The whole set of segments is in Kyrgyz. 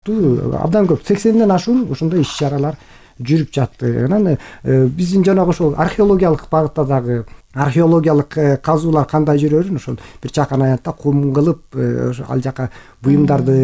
абдан көп 80ден ашуун ошондой иш чаралар жүрүп жатты. Анан биздин жанагы ошол археологиялык багытта дагы археологиялык казуулар кандай жүрөрүн ошол бир чакан аянтта кум кылып ал жака буюмдарды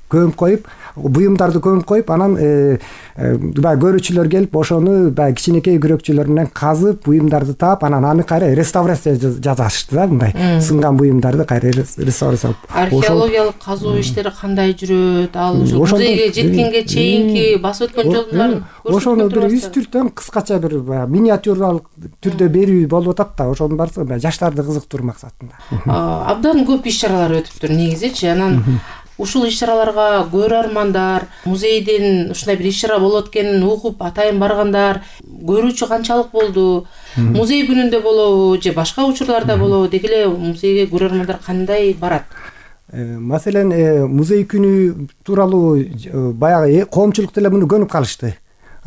көмүп коюп анан баягы көрүүчүлөр келип ошону баягы кичинекей күрөкчүлөр менен казып буюмдарды таап анан аны кайра реставрация жасашты да, мындай сынган буюмдарды кайра реставрация кылып. Археологиялык казуу иштери кандай жүрөт? Ал ошо музейге жеткенге чейинки басып өткөн жолдорун ошону бир үстүртөн кыскача бир миниатюралык түрдө берүү болуп атат да, ошонун барысы жаштарды кызыктыруу максатында. Абдан көп иш чаралар өтүптүр негизичи. Анан ушул иш чараларга көрөрмандар, музейден ушундай бир иш чара болот экенин угуп атайын баргандар, көрүүчү канчалык болду? Музей күнүндө болобу же башка учурларда болобу? Деги эле музейге көрөрмандар кандай барат? Маселен, музей күнү тууралуу баягы коомчулук деле муну көнүп калышты.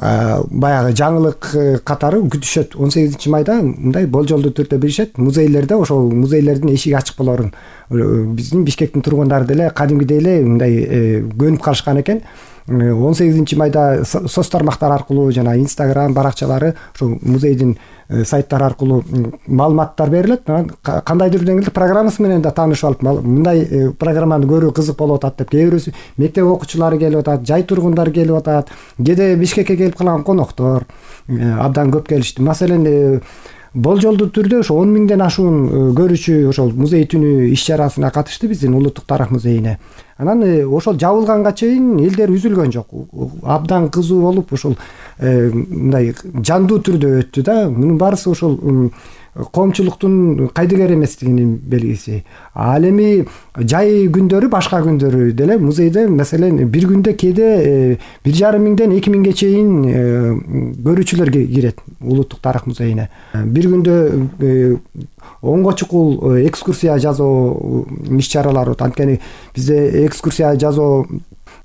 Баягы жаңылык катары күтүшөт. 18 майда мындай болжолдуу түрдө беришет. Музейлерде ошол музейлердин эшиги ачык болорун биздин Бишкектин тургундары деле кадимгидей эле мындай көнүп калышкан экен. 18 майда соц тармактар аркылуу жана Instagram баракчалары ошол музейдин сайттары аркылуу маалыматтар берилет. Кандайдыр деңгээлде программасы менен да таанышып алып, мындай программаны көрүү кызык болуп атат деп, кээ бирөөсү мектеп окуучулары келип атат, жай тургундары келип атат, кээде Бишкекке келип калган коноктор абдан көп келишти. Маселен, болжолдуу түрдө ошо 10 миңден ашуун көрүүчү ошол музей түнү иш чарасына катышты биздин Улуттук тарых музейине. Анан ошол жабылганга чейин элдер үзүлгөн жок. Абдан кызуу болуп, ошол мындай жандуу түрдө өттү да. Мунун баарысы ошол коомчулуктун кайдыгер эместигинин белгиси. Ал эми жай күндөрү, башка күндөрү деле музейде, маселен, бир күндө кээде 1,5 миңден 2 миңге чейин көрүүчүлөр кирет Улуттук тарых музейине. Бир күндө онго чукул экскурсия жасоо иш чаралары өтөт. Анткени бизде экскурсия жасоо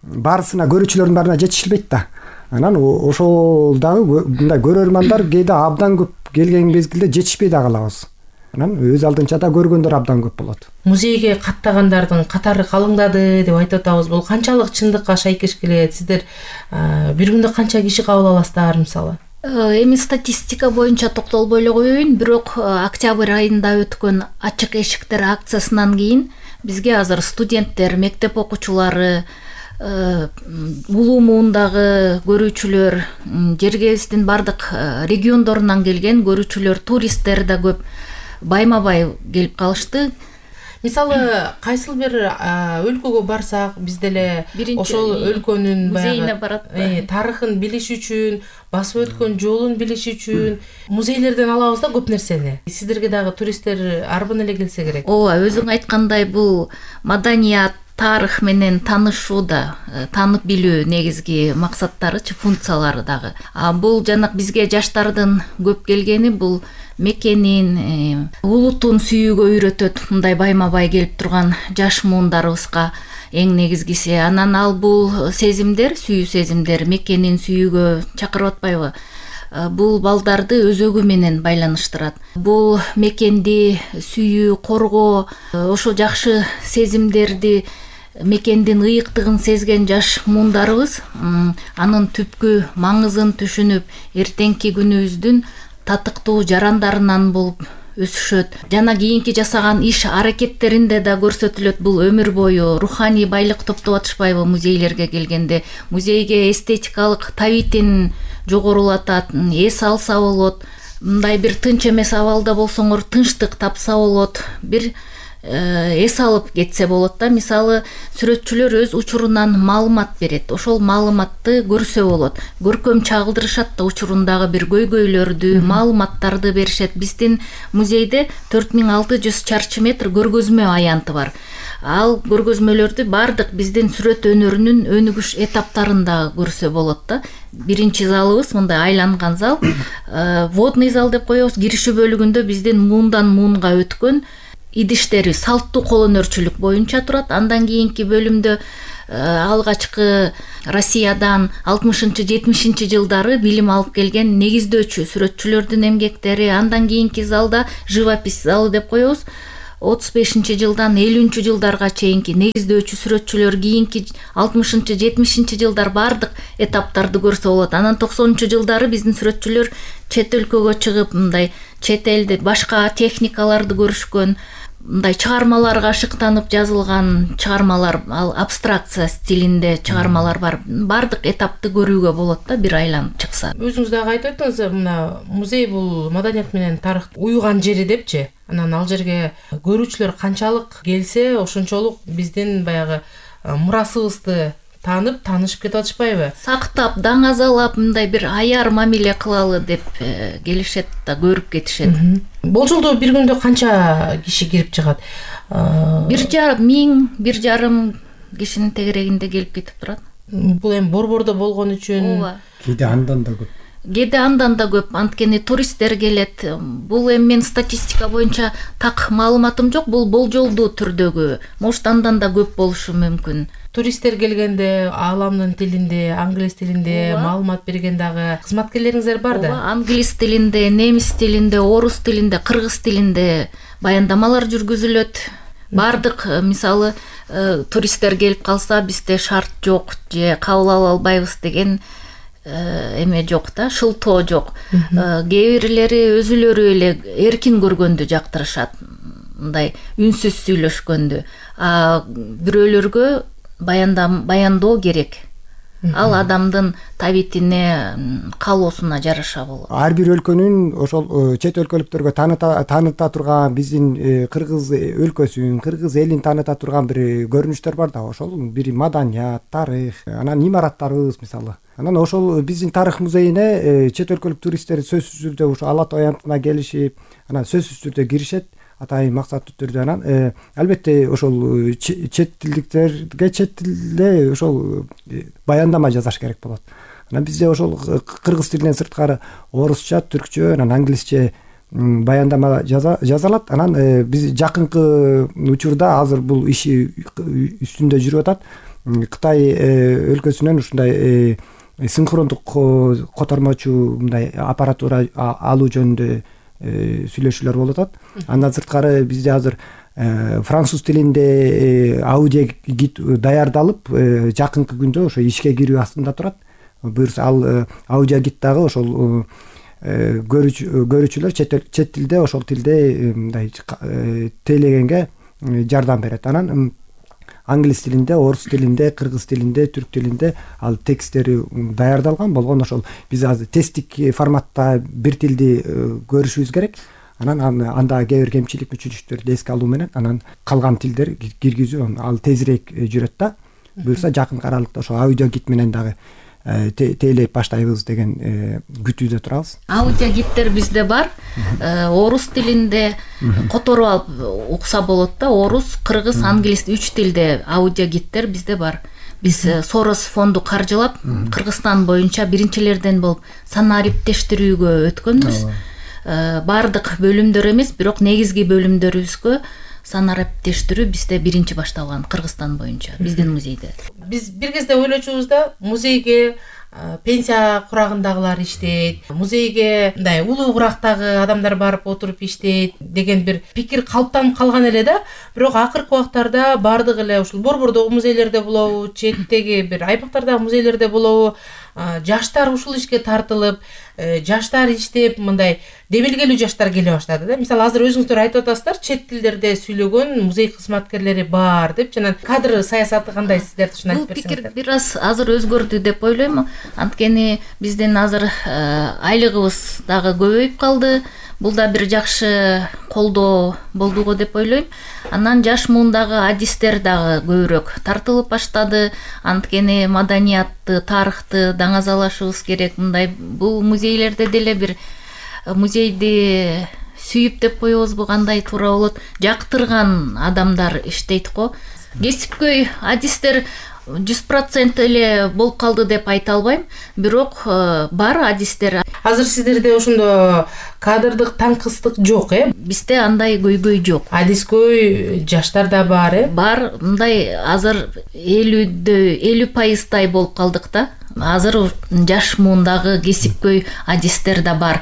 баарысына көрүүчүлөрдүн баарына жетишилбейт да. Анан ошол дагы мындай көрөрмандар кээде абдан көп келген мезгилде жетишпей да калабыз. Анан өз алдынча да көргөндөр абдан көп болот. Музейге каттагандардын катары калыңдады деп айтып атабыз. Бул канчалык чындыкка шайкеш келет? Сиздер бир күндө канча киши кабыл аласыздар мисалы? Эми статистика боюнча токтолбой эле коеюн, бирок октябрь айында өткөн ачык эшиктер акциясынан кийин бизге азыр студенттер, мектеп окуучулары, улуу муундагы көрүүчүлөр, жергебиздин бардык региондорунан келген көрүүчүлөр, туристтер да көп байма-бай келип калышты. Мисалы, кайсыл бир өлкөгө барсак, биз деле ошол өлкөнүн музейине барат, тарыхын билиш үчүн, басып өткөн жолун билиш үчүн музейлерден алабыз да көп нерсени. Сиздерге дагы туристтер арбын эле келсе керек. Ооба, өзүң айткандай бул маданият, тарых менен таанышууда, таанып билүү негизги максаттарычы, функциялары дагы. Бул жана бизге жаштардын көп келгени бул мекенин, улутун сүйүүгө үйрөтөт. Мындай байма-бай келип турган жаш муундарыбызга эң негизгиси. Анан ал бул сезимдер, сүйүү сезимдер мекенин сүйүүгө чакырып атпайбы? Бул балдарды өзөгү менен байланыштырат. Бул мекенди сүйүү, коргоо, ошо жакшы сезимдерди, мекендин ыйыктыгын сезген жаш муундарыбыз анын түпкү маңызын түшүнүп, эртеңки күнүбүздүн татыктуу жарандарынан болуп өсүшөт. Жана кийинки жасаган иш аракеттеринде да көрсөтүлөт. Бул өмүр бою руханий байлык топтоп атышпайбы музейлерге келгенде? Музейге эстетикалык табитин жогорулатат, эс алса болот. Мындай бир тынч эмес абалда болсоңор тынчтык тапса болот. Бир эс алып кетсе болот да. Мисалы, сүрөтчүлөр өз учурунан маалымат берет. Ошол маалыматты көрсө болот. Көркөм чагылдырышат да, учурундагы бир көйгөйлөрдү, маалыматтарды беришет. Биздин музейде 4600 чарчы метр көргөзмө аянты бар. Ал көргөзмөлөрдү бардык биздин сүрөт өнөрүнүн өнүгүш этаптарында көрсө болот да. Биринчи залыбыз мындай айланган зал, водный зал деп коебуз. Киришүү бөлүгүндө биздин муундан муунга өткөн идиштери салттуу кол өнөрчүлүк боюнча турат. Андан кийинки бөлүмдө алгачкы Россиядан 60-70 жылдары билим алып келген негиздөөчү сүрөтчүлөрдүн эмгектери. Андан кийинки залда живопись залы деп коебуз. 35-жылдан 50-жылдарга чейинки негиздөөчү сүрөтчүлөр кийинки 60-70 жылдар бардык этаптарды көрсө болот. Анан 90-жылдары биздин сүрөтчүлөр чет өлкөгө чыгып, мындай чет элде башка техникаларды көрүшкөн, мындай чыгармаларга шыктанып жазылган чыгармалар, ал абстракция стилинде чыгармалар бар. Бардык этапты көрүүгө болот да, бир айланып чыкса. Өзүңүз дагы айтып өттүңүз, мына музей бул маданият менен тарых уюган жери депчи. Анан ал жерге көрүүчүлөр канчалык келсе, ошончолук биздин баягы мурасыбызды таанып, таанышып кетип атышпайбы? Сактап, даңазалап, мындай бир аяр мамиле кылалы деп келишет да, көрүп кетишет. Болжолдо бир күндө канча киши кирип чыгат? 1,5 кишинин тегерегинде келип кетип турат. Бул эми борбордо болгон үчүн. Ооба. Кээде андан да көп. Кээде андан да көп, анткени туристтер келет. Бул эми мен статистика боюнча так маалыматым жок, бул болжолдуу түрдөгү. Может андан да көп болушу мүмкүн. Туристтер келгенде ааламдын тилинде, англис тилинде маалымат берген дагы кызматкерлериңиздер бар да? Англис тилинде, немис тилинде, орус тилинде, кыргыз тилинде баяндамалар жүргүзүлөт. Бардык, мисалы, туристтер келип калса, бизде шарт жок же кабыл ала албайбыз деген эме жок да, шылтоо жок. Кээ бирлери өзүлөрү эле эркин көргөндү жактырышат, мындай үнсүз сүйлөшкөндү. Бирөөлөргө баяндоо керек. Ал адамдын табитине, каалоосуна жараша болот. Ар бир өлкөнүн ошол чет өлкөлүктөргө тааныта турган биздин кыргыз өлкөсүн, кыргыз элин тааныта турган бир көрүнүштөр бар да, ошол бир маданият, тарых, анан имараттарыбыз мисалы. Анан ошол биздин тарых музейине чет өлкөлүк туристтер сөзсүз түрдө ушу Ала Тоо аянтына келишип, анан сөзсүз түрдө киришет. Атайын максаттуу түрдө. Анан албетте ошол чет тилдиктерге чет тилде ошол баяндама жазаш керек болот. Анан бизде ошол кыргыз тилинен сырткары орусча, түркчө, анан англисче баяндама жазалат. Анан биз жакынкы учурда азыр бул иши үстүндө жүрүп атат. Кытай өлкөсүнөн ушундай синхрондук котормочу мындай аппаратура алуу жөнүндө сүйлөшүүлөр болуп атат. Андан сырткары бизде азыр француз тилинде аудио гид даярдалып, жакынкы күндө ошо ишке кирүү астында турат. Буюрса ал аудио гид дагы ошол көрүүчүлөр чет тилде, ошол тилде мындай тейлегенге жардам берет. Анан англис тилинде, орус тилинде, кыргыз тилинде, түрк тилинде ал тексттери даярдалган болгон. Ошол биз азыр тесттик форматта бир тилди көрүшүбүз керек. Анан анда кээ бир кемчилик мүчүлүктөрдү эске алуу менен анан калган тилдер киргизүү ал тезирээк жүрөт да. Буюрса жакынкы аралыкта ошол аудио гид менен дагы тейлеп баштайбыз деген күтүүдө турабыз. Аудио гидтер бизде бар. Орус тилинде которуп алып укса болот да. Орус, кыргыз, англис 3 тилде аудио гидтер бизде бар. Биз Сорос фонду каржылап, Кыргызстан боюнча биринчилерден болуп санариптештирүүгө өткөнбүз. Бардык бөлүмдөр эмес, бирок негизги бөлүмдөрүбүзгө санариптештирүү бизде биринчи башталган Кыргызстан боюнча, биздин музейде. Биз бир кезде ойлочубуз да, музейге пенсия курагындагылар иштейт, музейге мындай улуу курактагы адамдар барып отуруп иштейт деген бир пикир калыптанып калган эле да. Бирок акыркы убактарда бардык эле ушул борбордогу музейлерде болобу, четтеги бир аймактардагы музейлерде болобу, жаштар ушул ишке тартылып, жаштар иштеп, мындай демилгелүү жаштар келе баштады да. Мисалы азыр өзүңүздөр айтып атасыздар, чет тилдерде сүйлөгөн музей кызматкерлери бар деп. Жана кадр саясаты кандай, сиздер ушуну айтып берсеңиздер. Бул пикир бир аз азыр өзгөрдү деп ойлойм. Анткени биздин азыр айлыгыбыз дагы көбөйүп калды. Бул да бир жакшы колдоо болду го деп ойлойм. Анан жаш муундагы адистер дагы көбүрөөк тартылып баштады. Анткени маданиятты, тарыхты даңазалашыбыз керек. Мындай бул музейлерде деле бир музейди сүйүп деп коебузбу, кандай туура болот, жактырган адамдар иштейт го. Кесипкөй адистер 100% эле болуп калды деп айта албайм, бирок бар адистер. Азыр сиздерде ошондо кадрдык таңкыстык жок, Бизде андай көйгөй жок. Адискөй жаштар да бар, Бар, мындай азыр 50% болуп калдык да. Азыр жаш муундагы кесипкөй адистер да бар.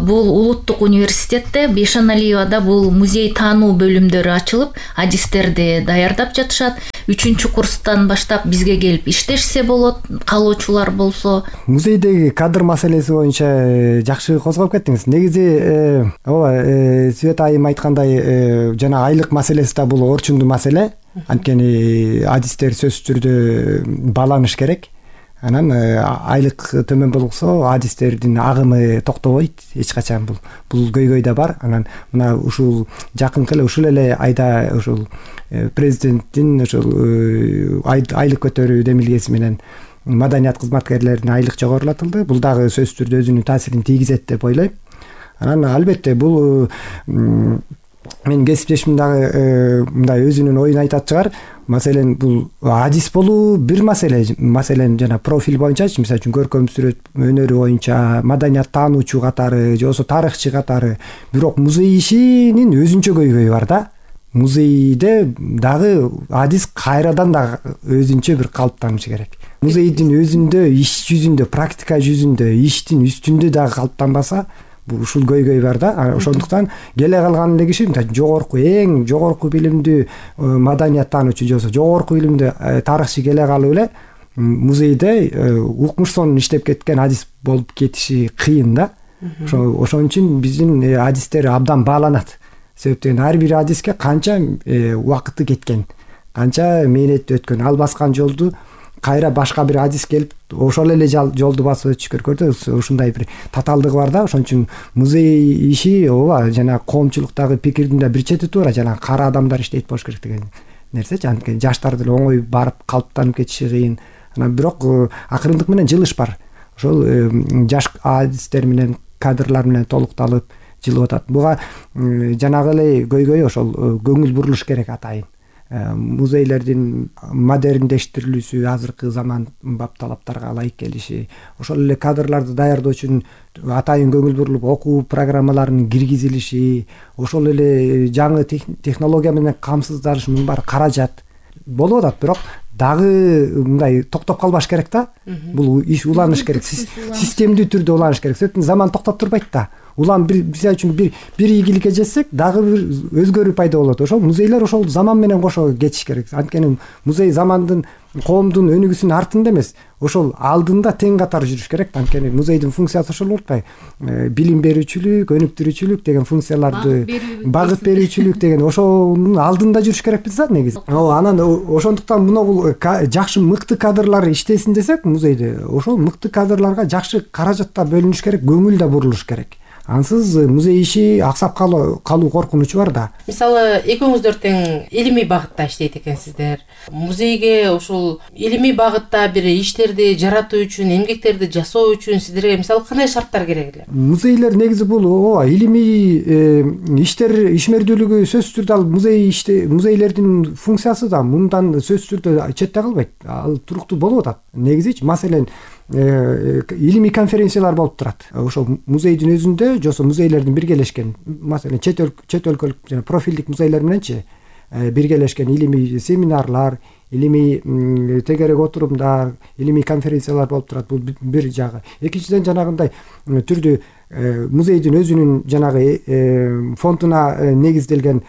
Бул улуттук университетте Бейшаналиевада бул музей таануу бөлүмдөрү ачылып, адистерди даярдап жатышат. 3-курстан баштап бизге келип иштешсе болот, каалоочулар болсо. Музейдеги кадр маселеси боюнча жакшы козгоп кеттиңиз. Негизи ооба, Света айым айткандай, жана айлык маселеси да бул орчундуу маселе. Анткени адистер сөзсүз түрдө бааланыш керек. Анан айлык төмөн болсо адистердин агымы токтобойт эч качан. Бул көйгөй да бар. Анан мына ушул жакынкы эле ушул эле айда ушул президенттин ушул айлык көтөрүү демилгеси менен маданият кызматкерлерине айлык жогорулатылды. Бул дагы сөзсүз түрдө өзүнүн таасирин тийгизет деп ойлойм. Анан албетте бул менин кесиптешим дагы мындай өзүнүн оюн айтат чыгар. Маселен бул адис болуу бир маселе. Маселен жана профиль боюнчачы, мисалы үчүн көркөм сүрөт өнөрү боюнча маданият таануучу катары же болбосо тарыхчы катары. Бирок музей ишинин өзүнчө көйгөйү бар да. Музейде дагы адис кайрадан дагы өзүнчө бир калыптанышы керек. Музейдин өзүндө, иш жүзүндө, практика жүзүндө, иштин үстүндө дагы калыптанбаса, ушул көйгөй бар да. Ошондуктан келе калган эле киши жогорку, эң жогорку билимдүү маданият таануучу же болбосо жогорку билимдүү тарыхчы келе калып эле музейде укмуш сонун иштеп кеткен адис болуп кетиши кыйын да. Ошон үчүн биздин адистер абдан бааланат. Себептен ар бир адиске канча убакыты кеткен, канча мээнети өткөн, ал баскан жолду кайра башка бир адис келип ошол эле жолду басып өтүш керек. Көрдүңүз, ушундай бир татаалдыгы бар да. Ошон үчүн музей иши ооба жана коомчулуктагы пикирдин да бир чети туура, жана кара адамдар иштейт болуш керек деген нерсечи. Анткени жаштар деле оңой барып калыптанып кетиши кыйын. Анан бирок акырындык менен жылыш бар. Ошол жаш адистер менен, кадрлар менен толукталып жылып атат. Буга жанагы эле көйгөй ошол көңүл бурулуш керек атайын. Музейлердин модерндештирилүүсү, азыркы заман бап талаптарга ылайык келиши, ошол эле кадрларды даярдоо үчүн атайын көңүл бурулуп окуу программаларынын киргизилиши, ошол эле жаңы технология менен камсыздалыш, мунун баары каражат болуп атат. Бирок дагы мындай токтоп калбаш керек да. Бул иш уланыш керек, системдүү түрдө уланыш керек. Себептен заман токтоп турбайт да. Улам мисалы үчүн бир ийгиликке жетсек, дагы бир өзгөрүү пайда болот. Ошол музейлер ошол заман менен кошо кетиш керек. Анткени музей замандын, коомдун өнүгүүсүнүн артында эмес, ошол алдында тең катар жүрүш керек. Анткени музейдин функциясы ошол болуп атпайбы? Билим берүүчүлүк, өнүктүрүүчүлүк деген функцияларды, багыт берүүчүлүк деген ошонун алдында жүрүш керекпиз да негизи. Анан ошондуктан бул жакшы мыкты кадрлар иштесин десек музейде, ошол мыкты кадрларга жакшы каражаттар бөлүнүш керек, көңүл да бурулуш керек. Ансыз музей иши аксап калуу коркунучу бар да. Мисалы, экөөңүздөр тең илимий багытта иштейт экенсиздер. Музейге ошол илимий багытта бир иштерди жаратуу үчүн, эмгектерди жасоо үчүн сиздерге мисалы кандай шарттар керек эле? Музейлер негизи бул ооба илимий иштер ишмердүүлүгү сөзсүз түрдө ал музейлердин функциясы да мындан сөзсүз түрдө четте калбайт. Ал туруктуу болуп атат. Негизи маселен илимий конференциялар болуп турат. Ошол музейдин өзүндө же болбосо музейлердин биргелешкен, маселен чет өлкөлүк жана профилдик музейлер мененчи биргелешкен илимий семинарлар, илимий тегерек отурумдар, илимий конференциялар болуп турат. Бул бир жагы. Экинчиден жанагындай түрдүү музейдин өзүнүн жанагы фондуна негизделген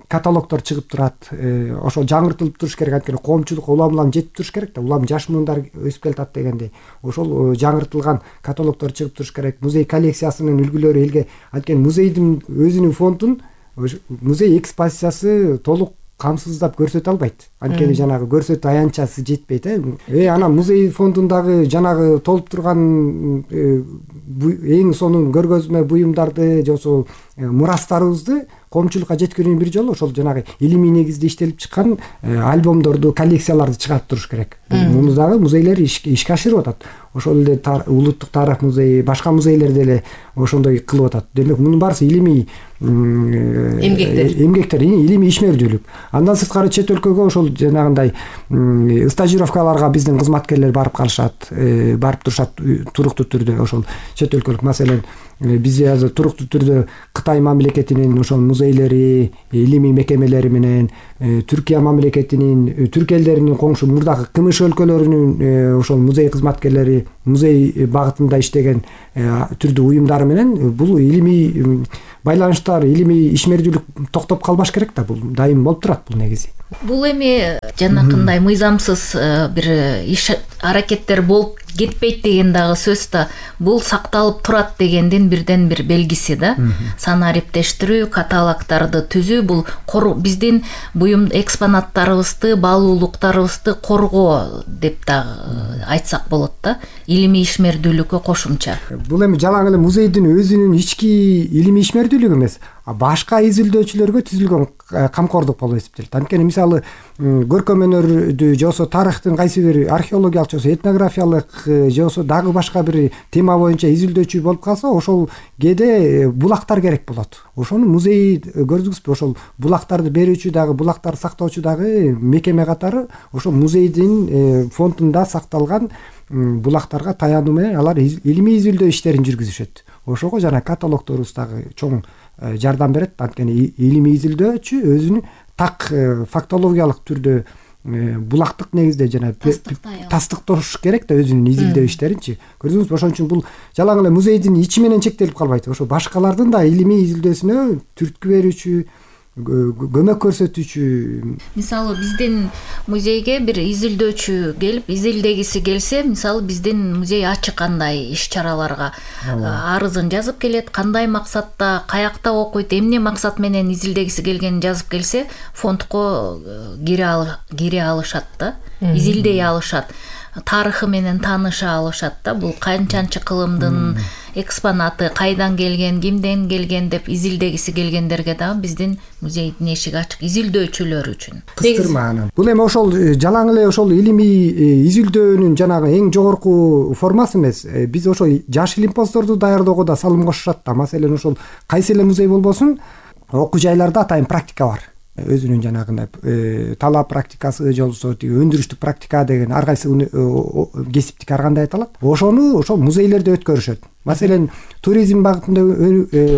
каталогдор чыгып турат. Ошол жаңыртылып туруш керек. Анткени коомчулукка улам жетип туруш керек да. Улам жаш муундар өсүп келатат дегендей. Ошол жаңыртылган каталогдор чыгып туруш керек. Музей коллекциясынын үлгүлөрү элге, анткени музейдин өзүнүн фондун музей экспозициясы толук камсыздап көрсөтө албайт. Анткени жанагы көрсөтүү аянтчасы жетпейт. Анан музей фондундагы жанагы толуп турган эң сонун көргөзмө буюмдарды же болбосо мурастарыбызды коомчулукка жеткирүүнүн бир жолу ошол жанагы илимий негизде иштелип чыккан альбомдорду, коллекцияларды чыгарып туруш керек. Муну дагы музейлер ишке ашырып атат. Ошол эле улуттук тарых музейи, башка музейлер деле ошондой кылып атат. Демек мунун баарысы илимий эмгектер, илимий ишмердүүлүк. Андан сырткары чет өлкөгө ошол жанагындай стажировкаларга биздин кызматкерлер барып калышат, барып турушат туруктуу түрдө. Ошол чет өлкөлүк, маселен бизде азыр туруктуу түрдө Кытай мамлекетинин ошол музейлери, илимий мекемелери менен Түркия мамлекетинин, түрк элдеринин коңшу мурдагы КМШ өлкөлөрүнүн ошол музей кызматкерлери, музей багытында иштеген түрдүү уюмдары менен бул илимий байланыштар, илимий ишмердүүлүк токтоп калбаш керек да. Бул дайым болуп турат бул негизи. Бул эми жанакындай мыйзамсыз бир иш аракеттер болуп кетпейт деген дагы сөз да. Бул сакталып турат дегендин бирден бир белгиси да. Санариптештирүү, каталогдорду түзүү бул биздин буюм экспонаттарыбызды, баалуулуктарыбызды коргоо деп дагы айтсак болот да. Илимий ишмердүүлүккө кошумча. Бул эми жалаң эле музейдин өзүнүн ички илимий ишмердүүлүгү эмес, башка изилдөөчүлөргө түзүлгөн камкордук болуп эсептелет. Анткени мисалы көркөм өнөрдү же болбосо тарыхтын кайсы бир археологиялык же болбосо этнографиялык же болбосо дагы башка бир тема боюнча изилдөөчү болуп калса, ошол кээде булактар керек болот. Ошону музей көрдүңүзбү, ошол булактарды берүүчү дагы, булактарды сактоочу дагы мекеме катары ошол музейдин фондунда сакталган булактарга таянуу менен алар илимий изилдөө иштерин жүргүзүшөт. Ошого жана каталогдорубуз дагы чоң жардам берет. Анткени илимий изилдөөчү өзүнүн так фактологиялык түрдө булактык негизде жана тастыктош керек да өзүнүн изилдөө иштеринчи. Көрдүңүзбү, ошон үчүн бул жалаң эле музейдин ичи менен чектелип калбайт. Ошо башкалардын да илимий изилдөөсүнө түрткү берүүчү, көмөк көрсөтүүчү. Мисалы биздин музейге бир изилдөөчү келип, изилдегиси келсе, мисалы биздин музей ачык андай иш-чараларга арызын жазып келет, кандай максатта, каякта окуйт, эмне максат менен изилдегиси келгенин жазып келсе, фондко кире алышат да, изилдей алышат. Тарыхы менен тааныша алышат да. Бул канчанчы кылымдын экспонаты, кайдан келген, кимден келген деп изилдегиси келгендерге дагы биздин музейдин эшиги ачык, изилдөөчүлөр үчүн. Кыстырма анан. Бул эми ошол жалаң эле ошол илимий изилдөөнүн жанагы эң жогорку формасы эмес. Биз ошол жаш илимпоздорду даярдоого да салым кошушат да. Маселен ошол кайсы эле музей болбосун, окуу жайларда атайын практика бар. Өзүнүн жанагындай талап практикасы же болбосо өндүрүштүк практика деген ар кайсы кесиптик ар кандай айтылат. Ошону ошол музейлерде өткөрүшөт. Маселен туризм багытында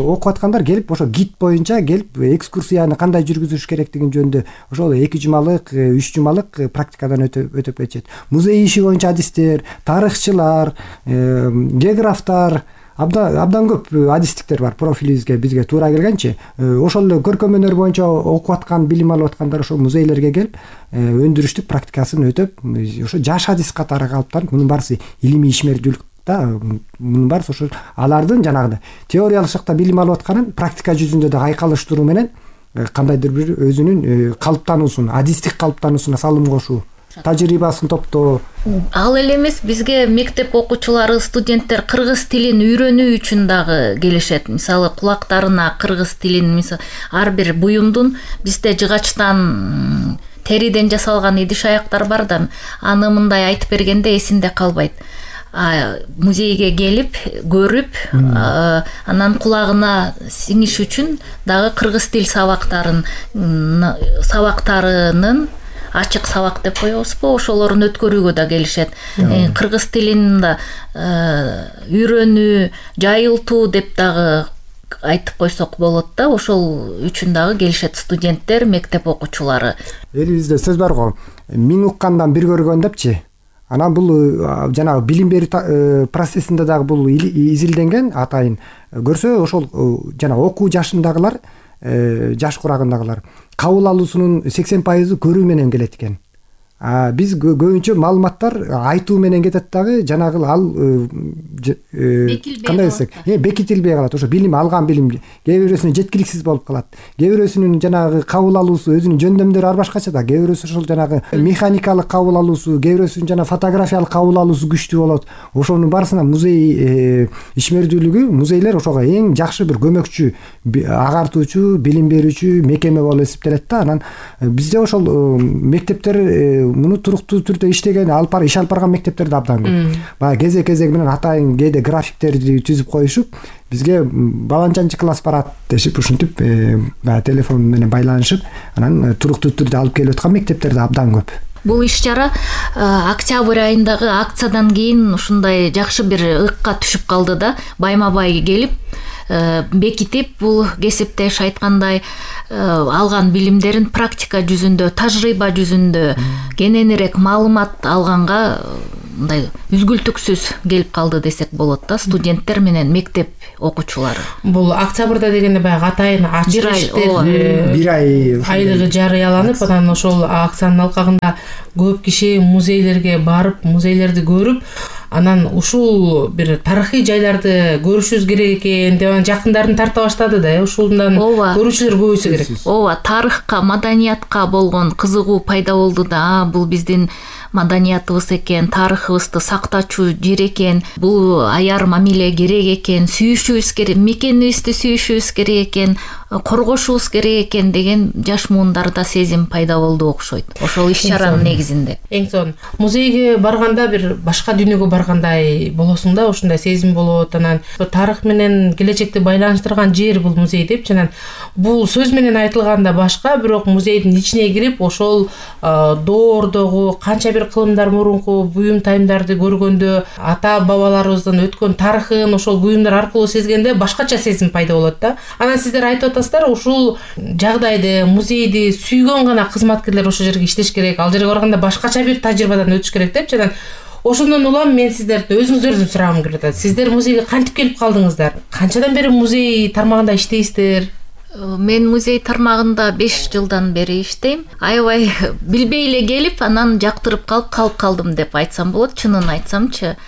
окуп аткандар келип ошо гид боюнча келип экскурсияны кандай жүргүзүш керектигин жөнүндө ошол 2 жумалык, 3 жумалык практикадан өтүп кетишет. Музей иши боюнча адистер, тарыхчылар, географтар, абдан көп адистиктер бар профилибизге, бизге туура келгенчи. Ошол эле көркөм өнөр боюнча окуп аткан, билим алып аткандар ошол музейлерге келип өндүрүштүк практикасын өтөп, ошо жаш адист катары калыптанып, мунун баарысы илимий ишмердүүлүк да. Мунун баарысы ошол алардын жанагындай теориялык жакта билим алып атканын практика жүзүндө да айкалыштыруу менен кандайдыр бир өзүнүн калыптануусун, адистик калыптануусуна салым кошуу, тажрыйбасын топтоо. Ал эле эмес, бизге мектеп окуучулары, студенттер кыргыз тилин үйрөнүү үчүн дагы келишет. Мисалы кулактарына кыргыз тилин, мисалы ар бир буюмдун бизде жыгачтан, териден жасалган идиш аяктар бар да, аны мындай айтып бергенде эсинде калбайт. Музейге келип, көрүп, анан кулагына сиңиш үчүн дагы кыргыз тил сабактарынын ачык сабак деп коебузбу, ошолорун өткөрүүгө да келишет. Кыргыз тилин да үйрөнүү, жайылтуу деп дагы айтып койсок болот да. Ошол үчүн дагы келишет студенттер, мектеп окуучулары. Элибизде сөз бар го, миң уккандан бир көргөн депчи. Анан бул жанагы билим берүү процессинде дагы бул изилденген атайын. Көрсө ошол жана окуу жашындагылар, жаш курагындагылар кабыл алуусунун 80% көрүү менен келет экен. Биз көбүнчө маалыматтар айтуу менен кетет дагы, жанагы ал кандай десек, бекитилбей калат. Ошо билим, алган билим кээ бирөөсүнө жеткиликсиз болуп калат. Кээ бирөөсүнүн жанагы кабыл алуусу, өзүнүн жөндөмдөрү ар башкача да. Кээ бирөөсү ошол жанагы механикалык кабыл алуусу, кээ бирөөсүнүн жана фотографиялык кабыл алуусу күчтүү болот. Ошонун барысына музей ишмердүүлүгү, музейлер ошого эң жакшы бир көмөкчү, агартуучу, билим берүүчү мекеме болуп эсептелет да. Анан бизде ошол мектептер муну туруктуу түрдө иштеген иш алып барган мектептер да абдан көп. Баягы кезек менен атайын кээде графиктерди түзүп коюшуп, бизге баланчанчы класс барат дешип, ушинтип баягы телефон менен байланышып, анан туруктуу түрдө алып келип аткан мектептер да абдан көп. Бул иш-чара октябрь айындагы акциядан кийин ушундай жакшы бир ыкка түшүп калды да, байма-бай келип бекитип, бул кесиптеш айткандай алган билимдерин практика жүзүндө, тажрыйба жүзүндө кененирээк маалымат алганга мындай үзгүлтүксүз келип калды десек болот да, студенттер менен мектеп окуучулары. Бул октябрда дегенде баягы атайын ачык бир ай айлыгы жарыяланып, анан ошол акциянын алкагында көп киши музейлерге барып, музейлерди көрүп, анан ушул бир тарыхый жайларды көрүшүбүз керек экен деп жакындарын тарта баштады да, ушундан көрүүчүлөр көбөйсө керек. Ооба, тарыхка, маданиятка болгон кызыгуу пайда болду да. Бул биздин маданиятыбыз экен, тарыхыбызды сактачу жер экен, бул аяр мамиле керек экен, сүйүшүбүз керек, мекенибизди сүйүшүбүз керек экен, коргошубуз керек экен деген жаш муундарда сезим пайда болду окшойт. Ошол иш-чаранын негизинде. Эң сонун музейге барганда бир башка дүйнөгө баргандай болосуң да, ушундай сезим болот. Анан тарых менен келечекти байланыштырган жер бул музей депчи. Анан бул сөз менен айтылганда башка, бирок музейдин ичине кирип, ошол доордогу канча бир кылымдар мурунку буюм тайымдарды көргөндө, ата бабаларыбыздан өткөн тарыхын ошол буюмдар аркылуу сезгенде башкача сезим пайда болот да. Анан сиздер айтып атасыздар, ушул жагдайды, музейди сүйгөн гана кызматкерлер ошол жерге иштеш керек, ал жерге барганда башкача бир тажрыйбадан өтүш керек депчи. Анан ошондон улам мен сиздерди өзүңүздөрдүн сурагым келип атат. Сиздер музейге кантип келип калдыңыздар? Канчадан бери музей тармагында иштейсиздер? Мен музей тармагында 5 жылдан бери иштейм. Аябай билбей эле келип, анан жактырып калып калдым деп айтсам болот. Чынын айтсамчы,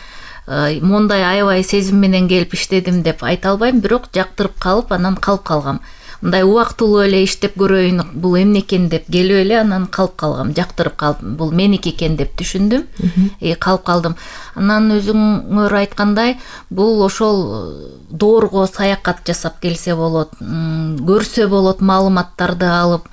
мондай аябай сезим менен келип иштедим деп айта албайм, бирок жактырып калып, анан калып калгам. Мындай убактылуу эле иштеп көрөйүн, бул эмне экен деп келип эле анан калып калгам, жактырып калып, бул меники экен деп түшүндүм, калып калдым. Анан өзүңөр айткандай, бул ошол доорго саякат жасап келсе болот, көрсө болот, маалыматтарды алып,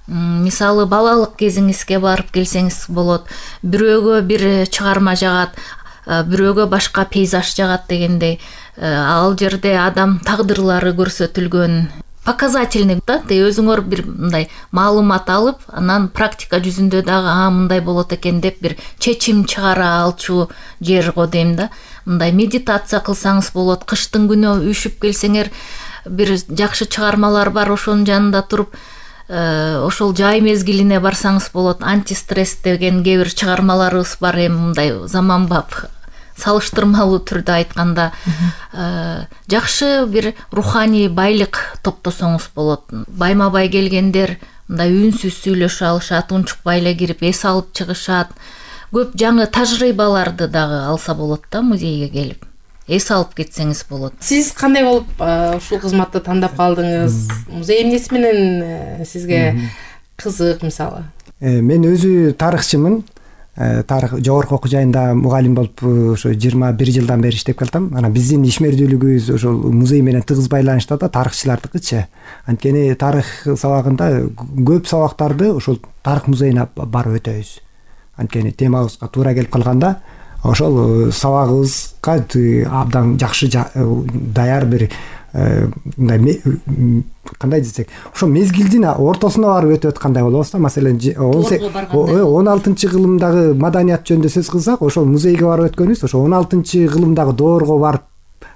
мисалы балалык кезиңизге барып келсеңиз болот, бирөөгө бир чыгарма жагат, бирөөгө башка пейзаж жагат дегендей, ал жерде адам тагдырлары көрсөтүлгөн, показательный да, өзүңөр бир мындай маалымат алып, анан практика жүзүндө дагы мындай болот экен деп бир чечим чыгара алчу жер го дейм да. Мындай медитация кылсаңыз болот, кыштын күнү үшүп келсеңер, бир жакшы чыгармалар бар, ошонун жанында туруп, ошол жай мезгилине барсаңыз болот. Антистресс деген кээ бир чыгармаларыбыз бар, мындай заманбап салыштырмалуу түрдө айтканда, жакшы бир руханий байлык топтосоңуз болот. Байма-бай келгендер мындай үнсүз сүйлөшө алышат, унчукпай эле кирип эс алып чыгышат. Көп жаңы тажрыйбаларды дагы алса болот да, музейге келип. Эс алып кетсеңиз болот. Сиз кандай болуп ушул кызматты тандап калдыңыз? Музей эмнеси менен сизге кызык, мисалы? Мен өзү тарыхчымын. Тарых жогорку окуу жайында мугалим болуп ошо 21 жылдан бери иштеп келатам. Анан биздин ишмердүүлүгүбүз ошол музей менен тыгыз байланышта да, тарыхчылардыкычы. Анткени тарых сабагында көп сабактарды ошол тарых музейине барып өтөбүз. Анткени темабызга туура келип калганда, ошол сабагыбызга абдан жакшы даяр бир мындай кандай десек, ошо мезгилдин ортосуна барып өтүп аткандай болобуз да. Маселен 16-кылымдагы маданият жөнүндө сөз кылсак, ошол музейге барып өткөнүбүз, ошо 16-кылымдагы доорго барып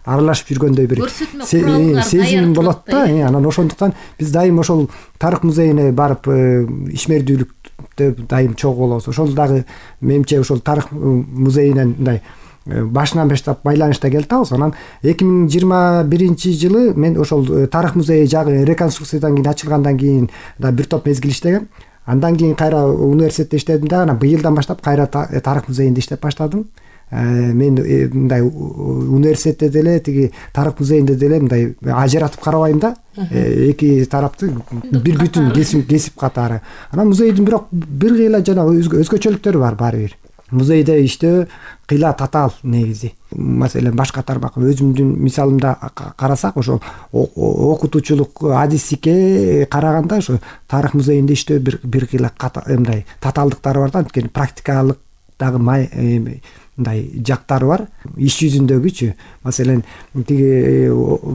аралашып жүргөндөй бир сезим болот да. Анан ошондуктан биз дайым ошол тарых музейине барып ишмердүүлүктө дайым чогуу болобуз. Ошол дагы менимче ошол тарых музейинен мындай башынан баштап байланышта келатабыз. Анан 2021-жылы мен ошол тарых музейи жагы реконструкциядан кийин ачылгандан кийин да бир топ мезгил иштегем. Андан кийин кайра университетте иштедим да, анан быйылдан баштап кайра тарых музейинде иштеп баштадым. Мен мындай университетте деле, тиги тарых музейинде деле мындай ажыратып карабайм да. Эки тарапты бир бүтүн кесип катары. Анан музейдин бирок бир гыйла жана өзгөчөлүктөрү бар баары бир. музейде иштөө кыйла татаал негизи. Маселен башка тармак өзүмдүн мисалымда карасак, ошол окутуучулук адистикке караганда ошо тарых музейинде иштөө бир кыйла мындай татаалдыктары бар да, анткени практикалык дагы мындай жактары бар. Иш жүзүндөгүчү, маселен тиги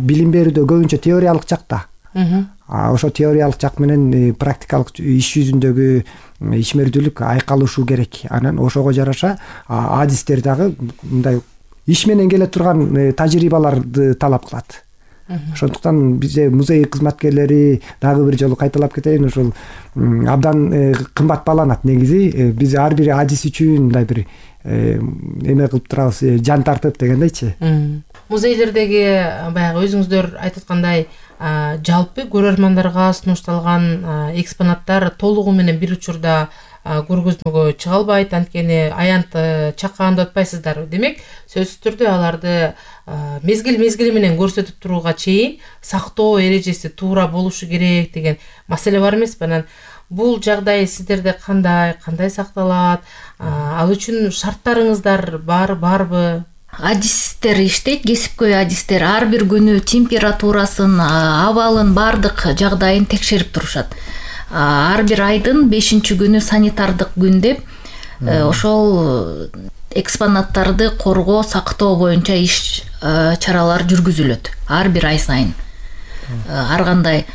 билим берүүдө көбүнчө теориялык жакта. Ошо теориялык жак менен практикалык иш жүзүндөгү ишмердүүлүк айкалышуу керек. Анан ошого жараша адистер дагы мындай иш менен келе турган тажрыйбаларды талап кылат. Ошондуктан бизде музей кызматкерлери дагы бир жолу кайталап кетейин, ошол абдан кымбат бааланат негизи. Биз ар бир адис үчүн мындай бир эме кылып турабыз, жан тартып дегендейчи. Музейлердеги баягы өзүңүздөр айтып аткандай жалпы көрөрмандарга сунушталган экспонаттар толугу менен бир учурда көргөзмөгө чыга албайт, анткени аянт чакканда атпайсыздар. Демек, сөзсүз түрдө аларды мезгил менен көрсөтүп турууга чейин сактоо эрежеси туура болушу керек деген маселе бар эмеспи? Анан бул жагдай сиздерде кандай сакталат? Ал үчүн шарттарыңыздар барбы? Адистер иштейт, кесипкөй адистер ар бир күнү температурасын, абалын, бардык жагдайын текшерип турушат. Ар бир айдын 5-күнү санитардык күн деп ошол экспонаттарды коргоо, сактоо боюнча иш чаралар жүргүзүлөт ар бир ай сайын. Ар кандай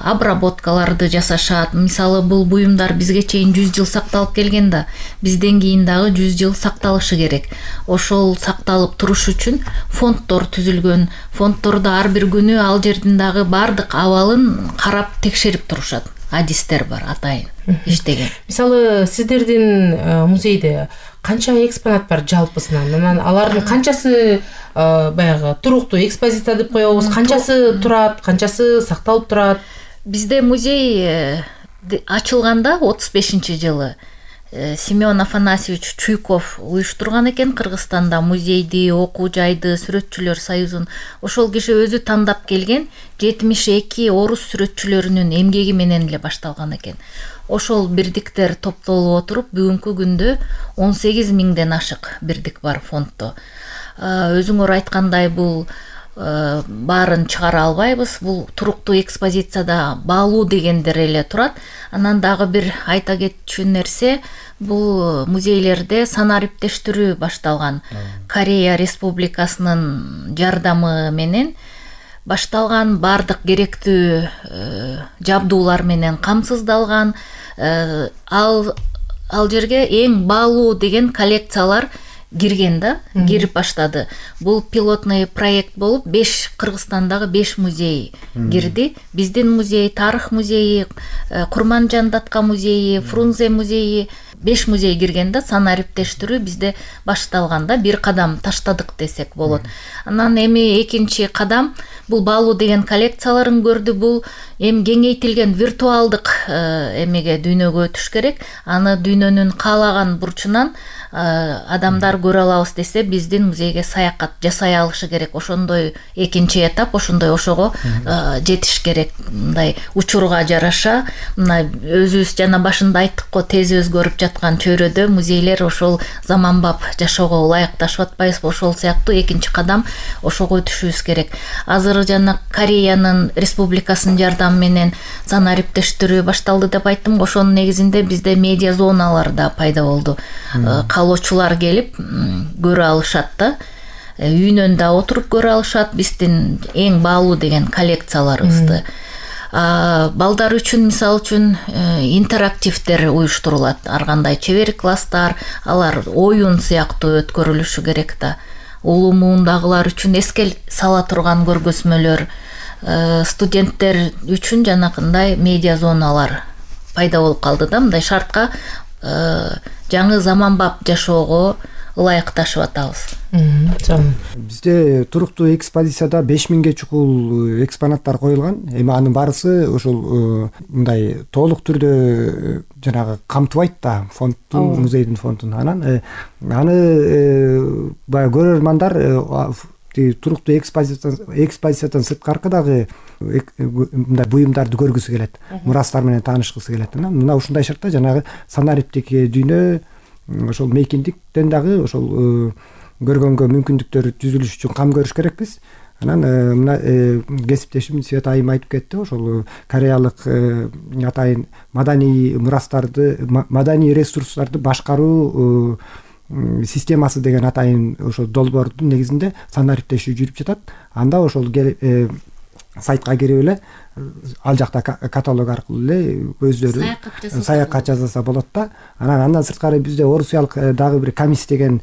обработкаларды жасашат. Мисалы, бул буюмдар бизге чейин 100 жыл сакталып келген да, бизден кийин дагы 100 жыл сакталышы керек. Ошол сакталып туруш үчүн фонддор түзүлгөн. Фонддордо ар бир күнү ал жердин дагы бардык абалын карап текшерип турушат. Адистер бар, атайын иштеген. Мисалы, сиздердин музейде канча экспонат бар жалпысынан? Анан алардын канчасы баягы туруктуу экспозиция деп коебуз, канчасы турат, канчасы сакталып турат? Бизде музей ачылганда 35-жылы Семен Афанасьевич Чуйков уюштурган экен. Кыргызстанда музейди, окуу жайды, сүрөтчүлөр союзун ошол киши өзү тандап келген 72 орус сүрөтчүлөрүнүн эмгеги менен эле башталган экен. Ошол бирдиктер топтолуп отуруп бүгүнкү күндө 18 миңден ашык бирдик бар фонддо. Өзүңөр айткандай, бул баарын чыгара албайбыз. Бул туруктуу экспозицияда баалуу дегендер эле турат. Анан дагы бир айта кетчү нерсе, бул музейлерде санариптештирүү башталган. Корея Республикасынын жардамы менен башталган, бардык керектүү жабдуулар менен камсыздалган. Ал жерге эң баалуу деген коллекциялар кирген да, кирип баштады. Бул пилотный проект болуп, Кыргызстандагы 5 музей кирди. Биздин музей, Тарых музейи, Курманжан Датка музейи, Фрунзе музейи, 5 музей кирген да. Санариптештирүү бизде башталганда бир кадам таштадык десек болот. Анан эми экинчи кадам бул баалуу деген коллекцияларын көрдү. Бул эми кеңейтилген виртуалдык эмеге, дүйнөгө өтүш керек. Аны дүйнөнүн каалаган бурчунан адамдар көрө алабыз десе, биздин музейге саякат жасай алышы керек. Ошондой экинчи этап, ошого жетиш керек. Мындай учурга жараша, мына өзүбүз жана башында айттык го, тез өзгөрүп жаткан чөйрөдө музейлер ошол заманбап жашоого ылайыкташып атпайбызбы? Ошол сыяктуу экинчи кадам ошого өтүшүбүз керек. Азыр жана Кореянын Республикасынын жардамы менен санариптештирүү башталды деп айттым. Ошонун негизинде бизде медиа зоналар да пайда болду. Каалоочулар келип көрө алышат да. Үйүнөн да отуруп көрө алышат биздин эң баалуу деген коллекцияларыбызды. Балдар үчүн, мисалы үчүн, интерактивдер уюштурулат. Ар кандай чебер класстар, алар оюн сыяктуу өткөрүлүшү керек да. Улуу муундагылар үчүн эске сала турган көргөзмөлөр, студенттер үчүн жанакындай медиа зоналар пайда болуп калды да. Мындай шартка жаңы заманбап жашоого ылайыкташып атабыз. Бизде туруктуу экспозицияда 5000ге чукул экспонаттар коюлган. Эми анын барысы ошол мындай толук түрдө жанагы камтыбайт да фонддун, музейдин фондун. Анан аны баягы көрөрмандар туруктуу экспозициядан сырткаркы дагы мындай буюмдарды көргүсү келет, мурастар менен таанышкысы келет. Мына ушундай шартта жанагы санариптик дүйнө, ошол мейкиндиктен дагы ошол көргөнгө мүмкүндүктөр түзүлүш үчүн кам көрүш керекпиз. Анан мына кесиптешим Света айым айтып кетти, ошол кореялык атайын маданий мурастарды, маданий ресурстарды башкаруу системасы деген атайын ошол долбоордун негизинде санариптешүү жүрүп жатат. Анда ошол сайтка кирип эле ал жакта каталог аркылуу эле өздөрү саякат жасаса болот да. Андан сырткары бизде орусиялык дагы бир Камис деген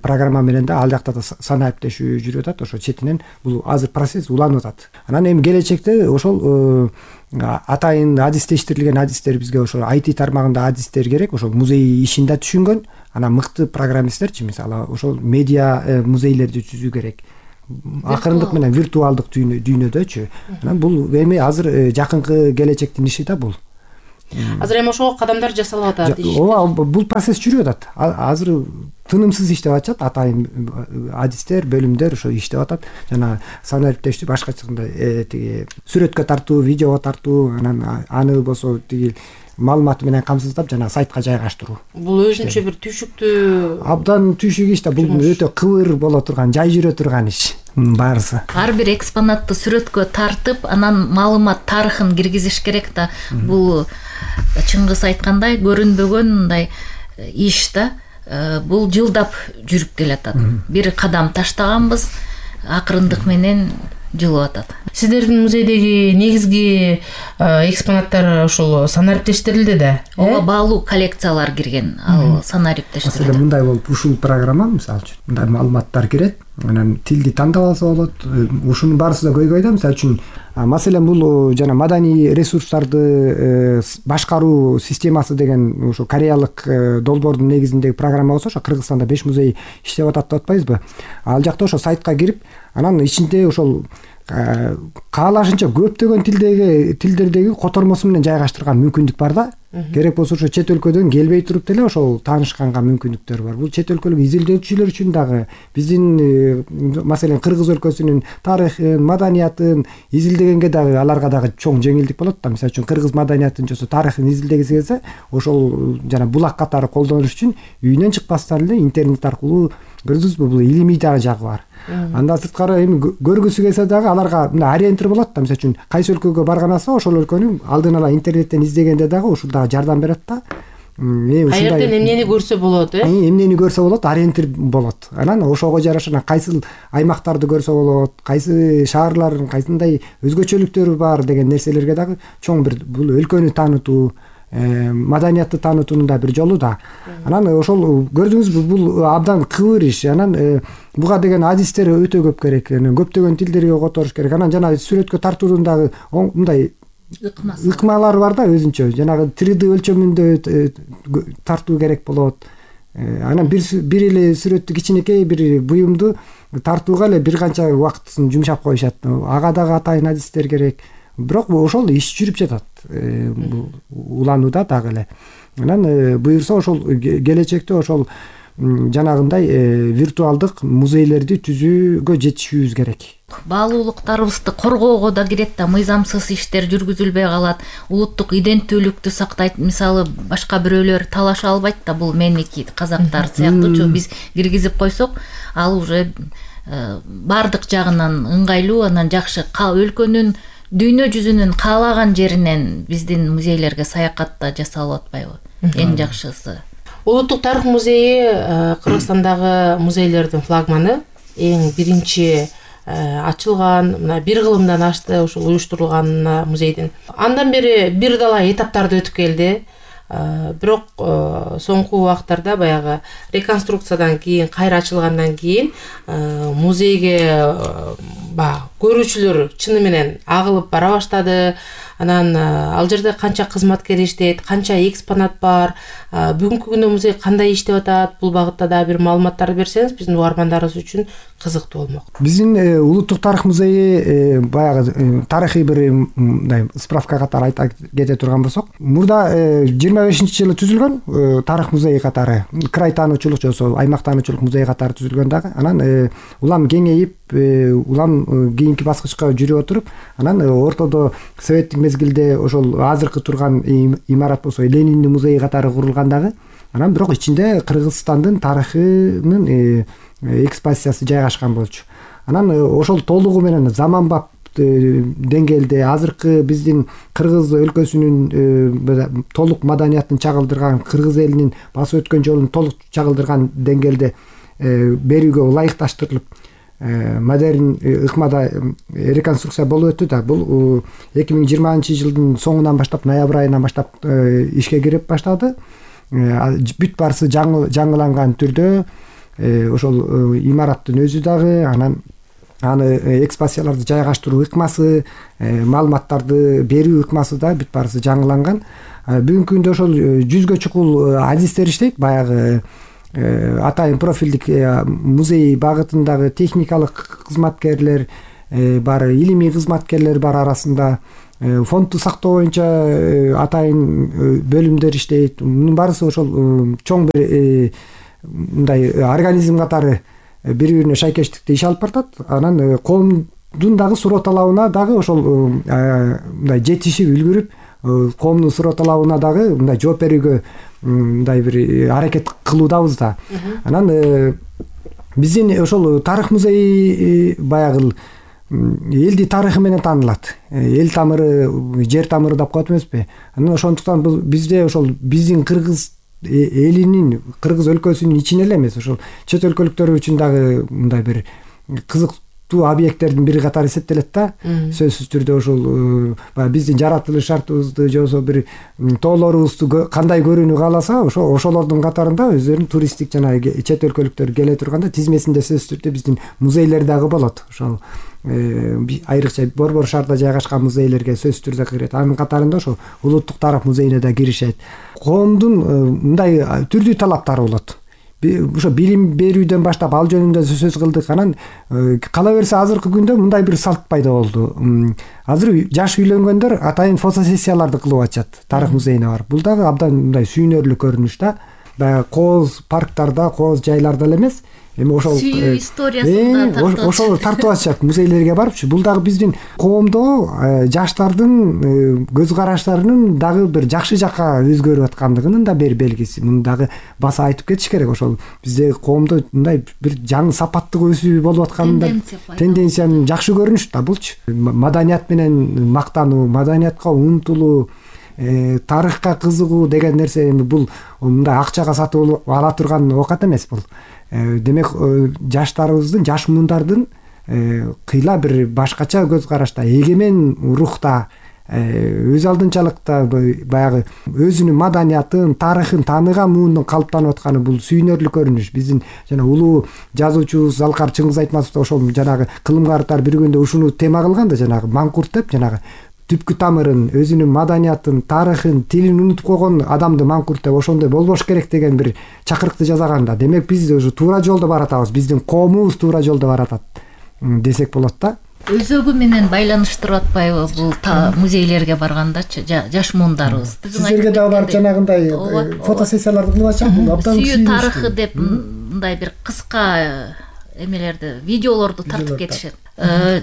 программа менен да ал жакта да санариптешүү жүрүп атат. Ошо четинен бул азыр процесс уланып атат. Анан эми келечекте ошол атайын адистештирилген адистер бизге ошо IT тармагында адистер керек. Ошол музей ишин да түшүнгөн, анан мыкты программисттерчи мисалы ошол медиа музейлерди түзүү керек. Акырындык менен виртуалдык дүйнөдөчү. Анан бул эми азыр жакынкы келечектин иши да бул. Азыр эми ошого кадамдар жасалып атат. Ооба, бул процесс жүрүп атат. Азыр тынымсыз иштеп атышат, атайын адистер, бөлүмдөр ошо иштеп атат. Жана санариптештүү башкача тиги сүрөткө тартуу, видеого тартуу, анан аны болсо тиги маалыматы менен камсыздап жана сайтка жайгаштыруу. Бул өзүнчө бир түйшүктүү абдан түйшүк иш да. Бул өтө кыбыр боло турган, жай жүрө турган иш баарысы. Ар бир экспонатты сүрөткө тартып, анан маалымат тарыхын киргизиш керек да. Бул Чыңгыз айткандай көрүнбөгөн мындай иш да. Бул жылдап жүрүп келатат. Бир кадам таштаганбыз, акырындык менен жылып атат. Сиздердин музейдеги негизги экспонаттар ошол санариптештирилди да. Ооба, баалуу коллекциялар кирген, ал санариптештирилди. Маселен мындай болуп, ушул программа мисалы үчүн мындай маалыматтар кирет, анан тилди тандап алса болот. Ушунун баарысы да көйгөй да. Мисалы үчүн маселен бул жана маданий ресурстарды башкаруу системасы деген ошо кореялык долбоордун негизиндеги программа болсо, ошо Кыргызстанда 5 музей иштеп атат деп атпайбызбы? Ал жакта ошо сайтка кирип, анан ичинде ошол каалашынча көптөгөн тилдердеги котормосу менен жайгаштырган мүмкүндүк бар да. Керек болсо ошо чет өлкөдөн келбей туруп деле ошол таанышканга мүмкүндүктөр бар. Бул чет өлкөлүк изилдөөчүлөр үчүн дагы биздин маселен Кыргыз өлкөсүнүн тарыхын, маданиятын изилдегенге дагы аларга дагы чоң жеңилдик болот да. Мисалы үчүн Кыргыз маданиятын жосо тарыхын изилдегиси келсе, ошол жана булак катары колдонуш үчүн үйүнөн чыкпастан эле интернет аркылуу көрдүңүзбү, бул илимий дагы жагы бар. Андан сырткары эми көргүсү келсе дагы аларга мына ориентир болот да. Мисалы үчүн кайсы өлкөгө барганаса ошол өлкөнү алдын ала интернеттен издегенде дагы ушул дагы жардам берет да. Каерден эмнени көрсө болот, эмнени көрсө болот, ориентир болот. Анан ошого жараша кайсы аймактарды көрсө болот, кайсы шаарлардын кайсындай өзгөчөлүктөрү бар деген нерселерге дагы чоң бир бул өлкөнү таанытуу, маданиятты таанытуунун да бир жолу да. Анан ошол көрдүңүзбү, бул абдан кыбыр иш. Анан буга деген адистер өтө көп керек. Көптөгөн тилдерге которуш керек. Анан жана сүрөткө тартуунун дагы мындай ыкмалары бар да өзүнчө. Жанагы 3D өлчөмүндө тартуу керек болот. Анан бир эле сүрөттү кичинекей бир буюмду тартууга эле бир канча убактысын жумшап коюшат. Ага дагы атайын адистер керек. Бирок ошол иш жүрүп жатат. Уланууда дагы эле. Анан буюрса ошол келечекте ошол жанагындай виртуалдык музейлерди түзүүгө жетишүүбүз керек. Баалуулуктарыбызды коргоого да кирет да, мыйзамсыз иштер жүргүзүлбөй калат, улуттук иденттүүлүктү сактайт. Мисалы башка бирөөлөр талаша албайт да, бул меники, казактар сыяктуучу биз киргизип койсок, ал уже бардык жагынан ыңгайлуу, анан жакшы өлкөнүн дүйнө жүзүнүн каалаган жеринен биздин музейлерге саякат да жасалып атпайбы? Эң жакшысы. Улуттук тарых музейи Кыргызстандагы музейлердин флагманы, эң биринчи ачылган, мына 1 кылымдан ашты ушул уюштурулган музейдин. Андан бери бир дала этаптарды өтүп келди. Бирок соңку убактарда баягы реконструкциядан кийин, кайра ачылгандан кийин музейге көрүүчүлөр чыны менен агылып бара баштады. Анан ал жерде канча кызматкер иштейт, канча экспонат бар, бүгүнкү күндө музей кандай иштеп атат, бул багытта да бир маалыматтарды берсеңиз биздин угармандарыбыз үчүн кызыктуу болмок. Биздин улуттук тарых музейи баягы тарыхый бир мындай справка катары айта кете турган болсок, мурда 25-жылы түзүлгөн тарых музейи катары, край таануучулук жосо аймак таануучулук музей катары түзүлгөн дагы. Анан улам кеңейип, улам кийинки баскычка жүрүп отуруп, анан ортодо советтик мезгилде ошол азыркы турган имарат болсо Лениндин музейи катары курулган дагы. Анан бирок ичинде Кыргызстандын тарыхынын экспозициясы жайгашкан болчу. Анан ошол толугу менен заманбап деңгээлде азыркы биздин кыргыз өлкөсүнүн толук маданиятын чагылдырган, кыргыз элинин басып өткөн жолун толук чагылдырган деңгээлде берүүгө ылайыкташтырылып модерн ыкмада реконструкция болуп өттү да. Бул 2020-жылдын соңунан баштап, ноябрь айынан баштап ишке кирип баштады. Бүт баарысы жаңыланган түрдө ошол имараттын өзү дагы, анан аны экспозицияларды жайгаштыруу ыкмасы, маалыматтарды берүү ыкмасы да бүт баарысы жаңыланган. Бүгүнкү күндө ошол 100гө чукул адистер иштейт. Баягы атайын профилдик музей багытындагы техникалык кызматкерлер бар, илимий кызматкерлер бар арасында. Фондду сактоо боюнча атайын бөлүмдөр иштейт. Мунун баарысы ошол чоң бир мындай организм катары бири-бирине шайкештикте иш алып баратат. Анан коомдун дагы суроо талабына дагы ошол мындай жетишип үлгүрүп, коомдун суроо талабына дагы мындай жооп берүүгө мындай бир аракет кылуудабыз да. Анан биздин ошол тарых музейи баягы элди тарыхы менен таанылат. Эл тамыры, жер тамыры деп коет эмеспи? Анан ошондуктан бизде ошол биздин кыргыз элинин, кыргыз өлкөсүнүн ичинен эле эмес, ошол чет өлкөлүктөр үчүн дагы мындай бир кызыктуу объекттердин бири катары эсептелет да. Сөзсүз түрдө ошол биздин жаратылыш шартыбызды же болбосо бир тоолорубузду кандай көрүүнү кааласа, ошолордун катарында өздөрүнүн туристтик жана чет өлкөлүктөр келе турганда тизмесинде сөзсүз түрдө биздин музейлер дагы болот. Ошол айрыкча Борбор шаарда жайгашкан музейлерге сөзсүз түрдө кирет. Анын катарында ошол улуттук тарых музейине да киришет. Коомдун мындай түрдүү талаптары болот. Ошо билим берүүдөн баштап ал жөнүндө сөз кылдык. Анан кала берсе азыркы күндө мындай бир салт пайда болду. Азыр жаш үйлөнгөндөр атайын фотосессияларды кылып атышат тарых музейине барып. Бул дагы абдан мындай сүйүнөрлүк көрүнүш да. Баягы кооз парктарда, кооз жайларда эле эмес, эми ошол сүйүү историясында ошол тартып атышат музейлерге барыпчы. Бул дагы биздин коомдо жаштардын көз караштарынын дагы бир жакшы жакка өзгөрүп аткандыгынын да бир белгиси. Муну дагы баса айтып кетиш керек. Ошол бизде коомдо мындай бир жаңы сапаттык өсүү болуп атканында тенденциянын жакшы көрүнүшү да булчу. Маданият менен мактануу, маданиятка умтулуу, тарыхка кызыгуу деген нерсе эми бул мындай акчага сатып ала турган оокат эмес бул. Демек жаштарыбыздын, жаш мундардын кыйла бир башкача көз карашта, эгемен рухта, өз алдынчалыкта баягы өзүнүн маданиятын, тарыхын тааныган муунун калыптанып атканы бул сүйүнөрлүк көрүнүш. Биздин жана улуу жазуучубуз Залкар Чыңгыз Айтматов ошол жанагы кылымгарлар бир күндө ушуну тема кылган да, жанагы маңкурт деп, жанагы түпкү тамырын, өзүнүн маданиятын, тарыхын, тилин унутуп койгон адамды маңкурт деп, ошондой болбош керек деген бир чакырыкты жасаган да. Демек биз уже туура жолдо баратабыз, биздин коомубуз туура жолдо баратат десек болот да. Өзөгү менен байланыштырып атпайбы бул музейлерге баргандачы жаш муундарыбыз? Сиздерге дагы барып жанагындай фотосессияларды кылып атышат. Бул абдан сүйүү тарыхы деп мындай бир кыска эмелерди, видеолорду тартып кетишет.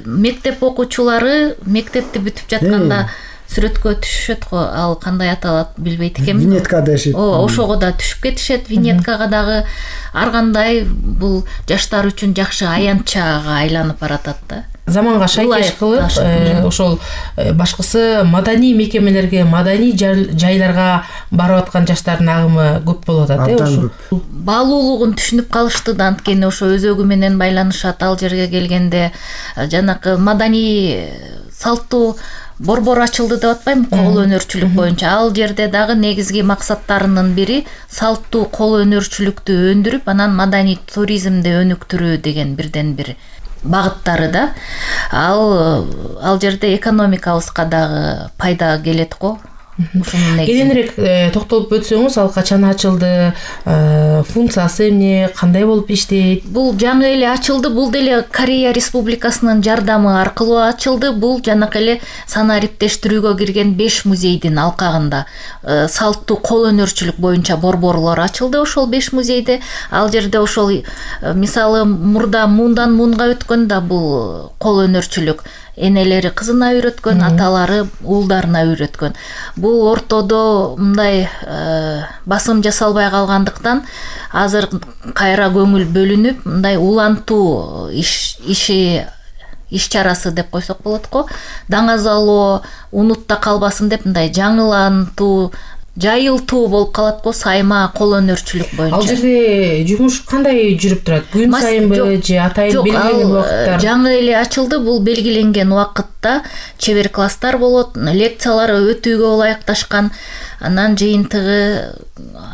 Мектеп окуучулары мектепти бүтүп жатканда сүрөткө түшүшөт го, ал кандай аталат билбейт экенбиз. Винетка дешет. Ошого да түшүп кетишет, винеткага дагы. Ар кандай бул жаштар үчүн жакшы аянтчага айланып баратат да. Заманга шайкеш кылып, ошол башкысы маданий мекемелерге, маданий жайларга барып аткан жаштардын агымы көп болуп атат, ошо. Баалуулугун түшүнүп калышты да, анткени ошо өзөгү менен байланышат. Ал жерге келгенде жанакы маданий салттуу борбор ачылды деп атпайбы, кол өнөрчүлүк боюнча. Ал жерде дагы негизги максаттарынын бири салттуу кол өнөрчүлүктү өндүрүп, анан маданий туризмди өнүктүрүү деген бирден бир багыттары да. Ал жерде экономикабызга дагы пайда келет го. Кененирээк токтолуп өтсөңүз, ал качан ачылды, функциясы эмне, кандай болуп иштейт? Бул жаңы эле ачылды. Бул деле Корея Республикасынын жардамы аркылуу ачылды. Бул жанакы эле санариптештирүүгө кирген 5 музейдин алкагында салттуу кол өнөрчүлүк боюнча борборлор ачылды ошол 5 музейде. Ал жерде ошол мисалы мурда муундан муунга өткөндө бул кол өнөрчүлүк энелери кызына үйрөткөн, аталары уулдарына үйрөткөн. Бул ортодо мындай басым жасалбай калгандыктан азыр кайра көңүл бөлүнүп, мындай улантуу иш чарасы деп койсок болот го. Даңазалоо, унутта калбасын деп мындай жаңылантуу, жайылтуу болуп калат го сайма кол өнөрчүлүк боюнча. Ал жерде жумуш кандай жүрүп турат? Күн сайынбы же атайын белгиленген убакыттар? Жаңы эле ачылды. Бул белгиленген убакытта чебер класстар болот, лекциялар өтүүгө ылайыкташкан. Анан жыйынтыгы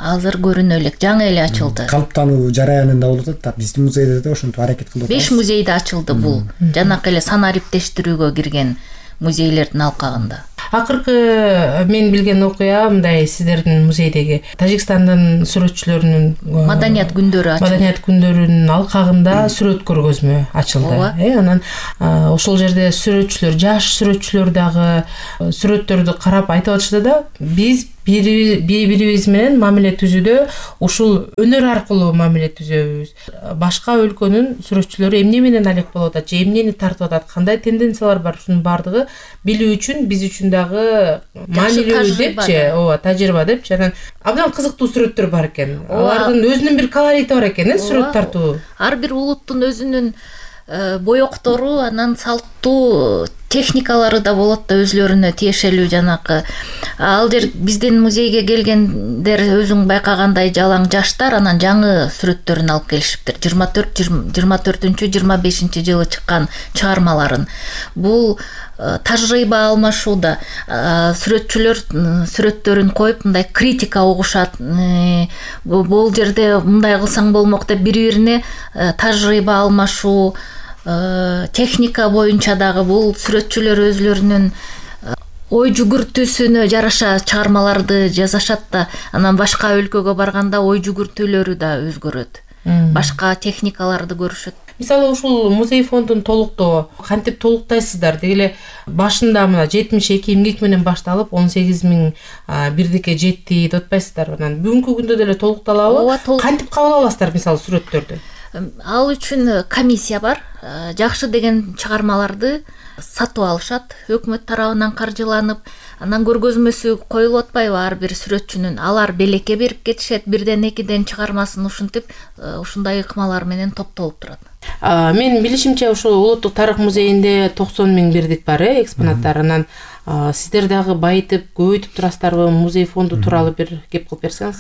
азыр көрүнө элек, жаңы эле ачылды. Калыптануу жараянында болуп атат. Биздин музейде да ошентип аракет кылып атабыз. 5 музейде ачылды бул. Жанакы эле санариптештирүүгө кирген музейлердин алкагында. Акыркы мен билген окуя мындай, сиздердин музейдеги Тажикстандын сүрөтчүлөрүнүн маданият күндөрү ачылды. Маданият күндөрүнүн алкагында сүрөт көргөзмө ачылды. Анан ошол жерде сүрөтчүлөр, жаш сүрөтчүлөр дагы сүрөттөрдү карап айтып атышты да, биз бири-бирибиз менен мамиле түзүүдө ушул өнөр аркылуу мамиле түзөбүз. Башка өлкөнүн сүрөтчүлөрү эмне менен алек болуп атат, же эмнени тартып атат, кандай тенденциялар бар, ушунун баардыгы билүү үчүн биз үчүн дагы маанилүү депчи, ооба, тажрыйба депчи. Анан абдан кызыктуу сүрөттөр бар экен. Алардын өзүнүн бир колорити бар экен, сүрөт тартуу. Ар бир улуттун өзүнүн боектору, анан салттуу техникалары да болот да, өзлөрүнө тиешелүү жанакы. Ал жер биздин музейге келгендер өзүң байкагандай жалаң жаштар, анан жаңы сүрөттөрүн алып келишиптир. 24-25 жылы чыккан чыгармаларын. Бул тажрыйба алмашууда. Сүрөтчүлөр сүрөттөрүн коюп мындай критика угушат. Бул жерде мындай кылсаң болмок деп бири-бирине тажрыйба алмашуу, техника боюнча дагы бул сүрөтчүлөр өзлөрүнүн ой жүгүртүүсүнө жараша чыгармаларды жазышат да, анан башка өлкөгө барганда ой жүгүртүүлөрү да өзгөрөт. Башка техникаларды көрүшөт. Мисалы ушул музей фондун толуктоо кантип толуктайсыздар? Дегеле башында мына 72 эмгек менен башталып 18.000 бирдикке жетти деп атпайсыздар. Анан бүгүнкү күндө деле толукталабы? Кантип кабыл аласыздар мисалы сүрөттөрдү? Ал үчүн комиссия бар. Жакшы деген чыгармаларды сатып алышат, өкмөт тарабынан каржыланып, анан көргөзмөсү коюлуп атпайбы ар бир сүрөтчүнүн. Алар белекке берип кетишет, бирден экиден чыгармасын ушинтип, ушундай ыкмалар менен топтолуп турат. Мен билишимче ушул Улуттук тарых музейинде 90.000 бирдик бар, экспонаттар. Анан сиздер дагы байытып, көбөйтүп турасыздарбы? Музей фонду тууралуу бир кеп кылып берсеңиз.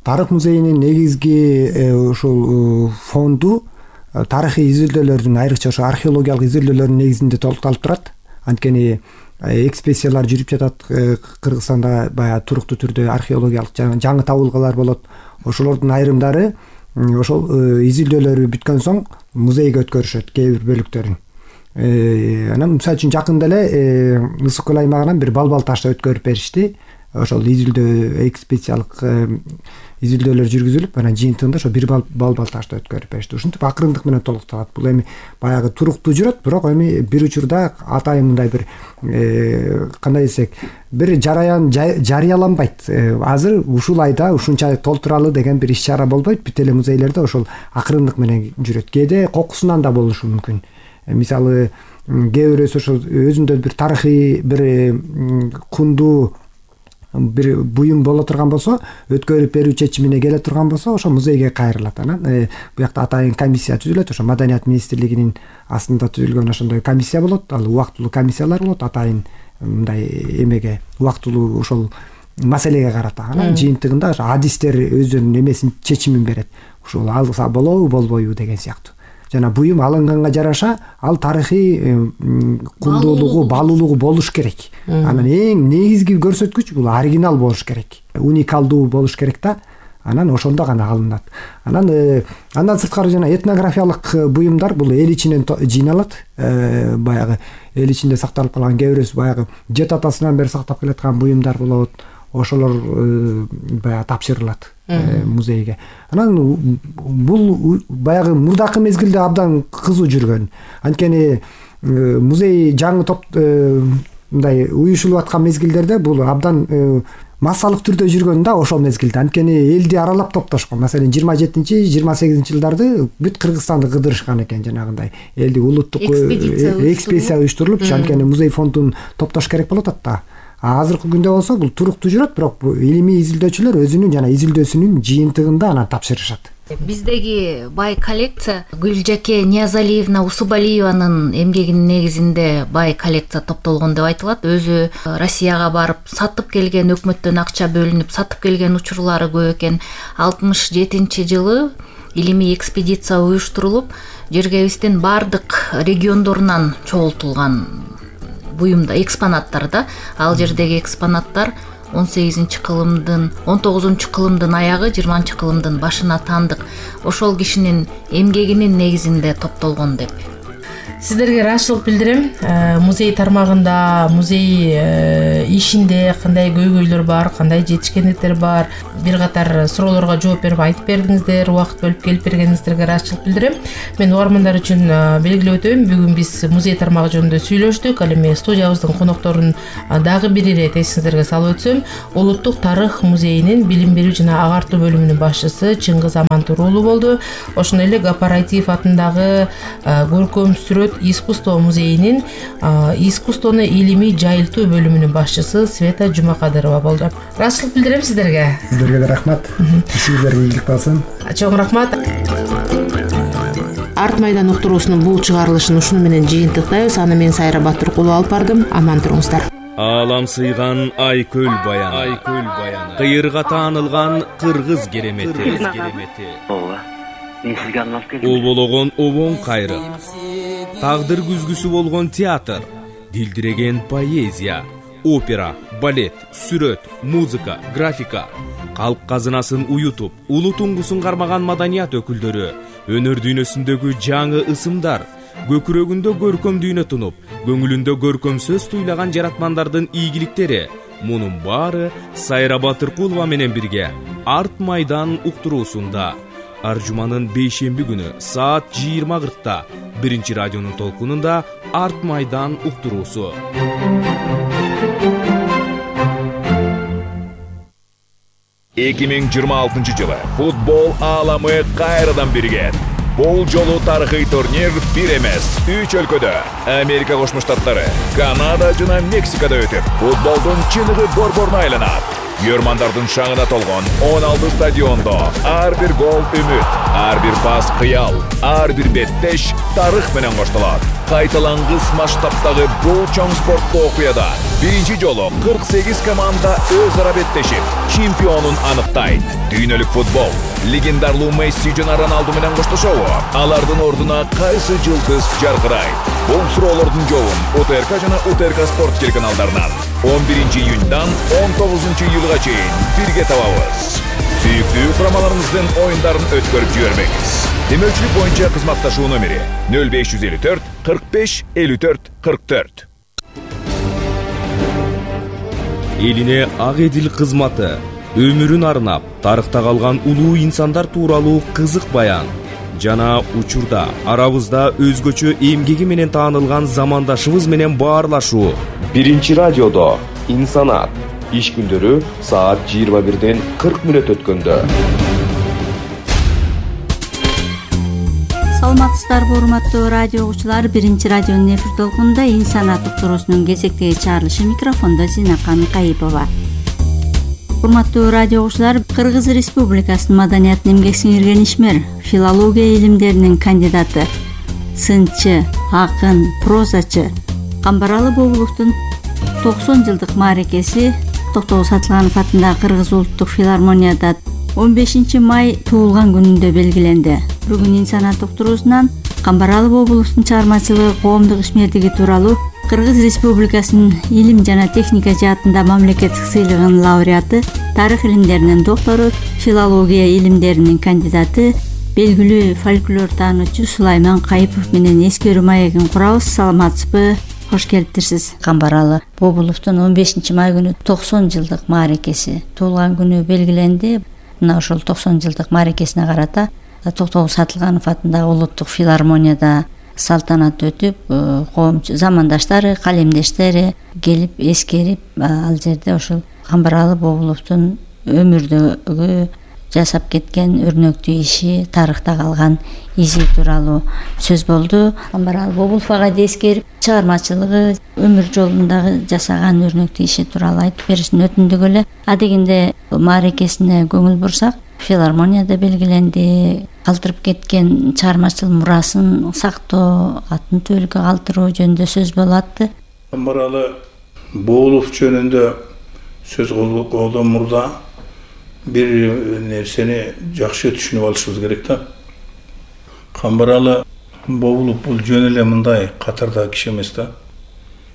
Тарых музейинин негизги ушул фонду тарыхый изилдөөлөрдүн, айрыкча ошо археологиялык изилдөөлөрдүн негизинде толукталып турат. Анткени экспедициялар жүрүп жатат Кыргызстанда, баягы туруктуу түрдө археологиялык жаңы табылгалар болот. Ошолордун айрымдары ошол изилдөөлөрү бүткөн соң музейге өткөрүшөт кээ бир бөлүктөрүн. Анан мисалы үчүн жакында эле Ысык көл аймагынан бир балбал ташты өткөрүп беришти. Ошол изилдөө экспедициялык изилдөөлөр жүргүзүлүп, анан жыйынтыгында ошо бир балбал ташты өткөрүп беришти. Ушинтип акырындык менен толукталат. Бул эми баягы туруктуу жүрөт, бирок эми бир учурда атайын мындай бир кандай десек, бир жараян жарыяланбайт. Азыр ушул айда ушунча толтуралы деген бир иш чара болбойт. Бүт эле музейлерде ошол акырындык менен жүрөт. Кээде кокусунан да болушу мүмкүн. Мисалы, кээ бирөөсү ошол өзүндө бир тарыхый бир кундуу бир буюм боло турган болсо, өткөрүп берүү чечимине келе турган болсо, ошо музейге кайрылат. Анан буякта атайын комиссия түзүлөт. Ошо Маданият министрлигинин астында түзүлгөн ошондой комиссия болот. Ал убактылуу комиссиялар болот, атайын мындай эмеге, убактылуу ошол маселеге карата. Анан жыйынтыгында ошо адистер өздөрүнүн эмесин, чечимин берет. Ушул алса болобу, болбойбу деген сыяктуу. Жана буюм алынганга жараша ал тарыхый кундуулугу, баалуулугу болуш керек. Анан эң негизги көрсөткүч бул оригинал болуш керек. Уникалдуу болуш керек да. Анан ошондо гана алынат. Андан сырткары жана этнографиялык буюмдар бул эл ичинен жыйналат. Баягы эл ичинде сакталып калган кээ бирөөсү баягы жет атасынан бери сактап келаткан буюмдар болот. Ошолор баягы тапшырылат музейге. Анан бул баягы мурдакы мезгилде абдан кызуу жүргөн. Анткени музей жаңы топ мындай уюшулуп аткан мезгилдерде бул абдан массалык түрдө жүргөн да ошол мезгилде. Анткени элди аралап топтошкон. Маселен 27-28 жылдарды бүт Кыргызстанды кыдырышкан экен, жанагындай элди улуттук экспедиция уюштурулуп, анткени музей фондун топтош керек болот атта. Азыркы күндө болсо бул туруктуу жүрөт, бирок илимий изилдөөчүлөр өзүнүн жана изилдөөсүнүн жыйынтыгында анан тапшырышат. Биздеги бай коллекция Гүлжаке Ниязалиевна Усубалиеванын эмгегинин негизинде бай коллекция топтолгон деп айтылат. Өзү Россияга барып сатып келген, өкмөттөн акча бөлүнүп сатып келген учурлары көп экен. 67-жылы илимий экспедиция уюштурулуп, жергебиздин бардык региондорунан чогултулган буюмда экспонаттар да. Ал жердеги экспонаттар 18-кылымдын 19-кылымдын аягы 20-кылымдын башына таандык ошол кишинин эмгегинин негизинде топтолгон деп. Сиздерге ыраазычылык билдирем. Музей тармагында, музей ишинде кандай көйгөйлөр бар, кандай жетишкендиктер бар, бир катар суроолорго жооп берип айтып бердиңиздер, убакыт бөлүп келип бергениңиздерге ыраазычылык билдирем. Мен угармандар үчүн белгилеп өтөйүн, бүгүн биз музей тармагы жөнүндө сүйлөштүк. Ал эми студиябыздын конокторун дагы бир ирет эсиңиздерге салып өтсөм, Улуттук тарых музейинин билим берүү жана агартуу бөлүмүнүн башчысы Чыңгыз Амантур уулу болду. Ошондой эле Гапараитиев атындагы көркөм сүрөт искусство музейинин искусствону илимий жайылтуу бөлүмүнүн башчысы Света Жумакадырова болду. Ыраазычылык билдирем сиздерге. Сиздерге да рахмат. Ишиңиздерге ийгилик болсун. Чоң рахмат. Арт майдан уктуруусунун бул чыгарылышын ушуну менен жыйынтыктайбыз. Аны мен Сайра Батыркулова алып бардым. Аман туруңуздар. Аалам сыйган Айкөл баяны, кыйырга таанылган кыргыз керемети. Мен сизге арналып келдим. Обологон обоң кайры, тагдыр күзгүсү болгон театр, дилдиреген поэзия, опера, балет, сүрөт, музыка, графика, калк казынасын уютуп, улуу туңгусун кармаган маданият өкүлдөрү, өнөр дүйнөсүндөгү жаңы ысымдар, көкүрөгүндө көркөм дүйнө тунуп, көңүлүндө көркөм сөз туйлаган жаратмандардын ийгиликтери. Мунун баары Сайра Батыркулова менен бирге Арт майдан уктуруусунда. Аржуманын бейшемби күнү саат 20:40 биринчи радионун толкунунда Арт майдан уктуруусу. 2026 жылы футбол ааламы кайрадан биригет. Бул жолу тарыхый турнир бир эмес, 3 өлкөдө Америка Кошмо Штаттары, Канада жана Мексикада өтүп, футболдун чыныгы борборуна айланат. Көрмандардын шаңына толгон 16 стадиондо ар бир гол үмүт, ар бир пас кыял, ар бир беттеш тарых менен коштолот. Кайталангыс масштабтагы бул чоң спорттуу окуяда биринчи жолу 48 команда өз ара беттешип, чемпионун аныктайт. Дүйнөлүк футбол легендарлуу Месси жана Роналду менен коштошобу? Алардын ордуна кайсы жылдыз жаркырайт? Бул суроолордун жообун УТРК жана УТРК спорт телеканалдарынан 11 июньдан 19 июлга чейин бирге табабыз. Сүйүктүү курамаларыңыздын оюндарын өткөрүп жибербеңиз. Демөүчүлүк боюнча кызматташуу номери 0554 45 54 44. Элине ак эдил кызматы, өмүрүн арнап, тарыхта калган улуу инсандар тууралуу кызык баян жана учурда арабызда өзгөчө эмгеги менен таанылган замандашыбыз менен баарлашуу. Биринчи радиодо Инсанат. Иш күндөрү саат 21:40 өткөндө. Саламатсыздарбы, урматтуу радио угуучулар. Биринчи радионун эфир толкунунда Инсанат уктуруусунун кезектеги чыгарылышы, микрофондо Зинакан Микаипова. Урматтуу радио угуучулар, Кыргыз Республикасынын маданиятын эмгек сиңирген ишмер, филология илимдеринин кандидаты, сынчы, акын, прозачы Камбаралы Бобуловдун 90 жылдык мааракеси Токтогул Сатылганов атындагы Кыргыз улуттук филармонияда 15 май туулган күнүндө белгиленди. Бүгүн Инсанат уктуруусунан Камбаралы Бобуловдун чыгармачылыгы, коомдук ишмердиги тууралуу Кыргыз Республикасынын илим жана техника жаатында мамлекеттик сыйлыгынын лауреаты, тарых илимдеринин доктору, филология илимдеринин кандидаты, белгилүү фольклор таануучу Сулайман Кайыпов менен эскерүү маегин курабыз. Саламатсызбы? Кош келиптирсиз. Камбаралы Бобуловдун 15 май күнү 90 жылдык мааракеси туулган күнү белгиленди. Мына ошол 90 жылдык мааракесине карата Токтогул Сатылганов атындагы улуттук филармонияда салтанат өтүп, коом замандаштары, калемдештери келип эскерип, ал жерде ошол Камбаралы Бобуловдун өмүрдөгү жасап кеткен өрнөктүү иши, тарыхта калган изи тууралуу сөз болду. Камбаралы Бобулов агайды эскерип, чыгармачылыгы, өмүр жолундагы жасаган өрнөктүү иши тууралуу айтып беришин өтүндүк эле. Адегенде мааракесине көңүл бурсак, филармонияда белгиленди, калтырып кеткен чыгармачыл мурасын сактоо, атын түбөлүккө калтыруу жөнүндө сөз болуп атты. Камбаралы Бобулов жөнүндө сөз кылуудан мурда бир нерсени жакшы түшүнүп алышыбыз керек да. Камбаралы Бобулов бул жөн эле мындай катардагы киши эмес да.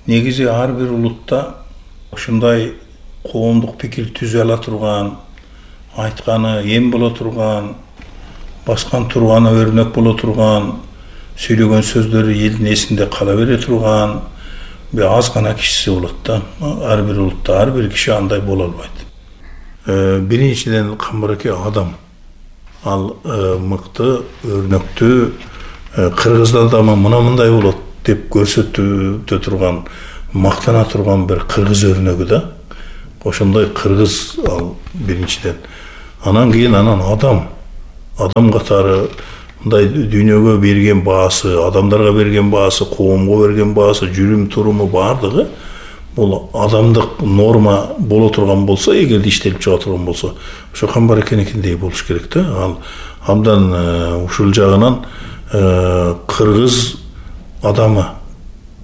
Негизи ар бир улутта ушундай коомдук пикир түзө ала турган, айтканы эм боло турган, баскан турганы өрнөк боло турган, сүйлөгөн сөздөрү элдин эсинде кала бере турган аз гана кишиси болот да. Ар бир улутта ар бир киши андай боло албайт. Биринчиден Камбараке адам. Ал мыкты, өрнөктүү, кыргыздар да мындай болот деп көрсөтүп турган, мактана турган бир кыргыз өрнөгү да. Ошондой кыргыз ал биринчиден. Анан кийин адам катары мындай дүйнөгө берген баасы, адамдарга берген баасы, коомго берген баасы, жүрүм туруму баардыгы бул адамдык норма боло турган болсо, эгерде иштелип чыга турган болсо, ошо Камбаракенекиндей болуш керек да. Ал абдан ушул жагынан кыргыз адамы,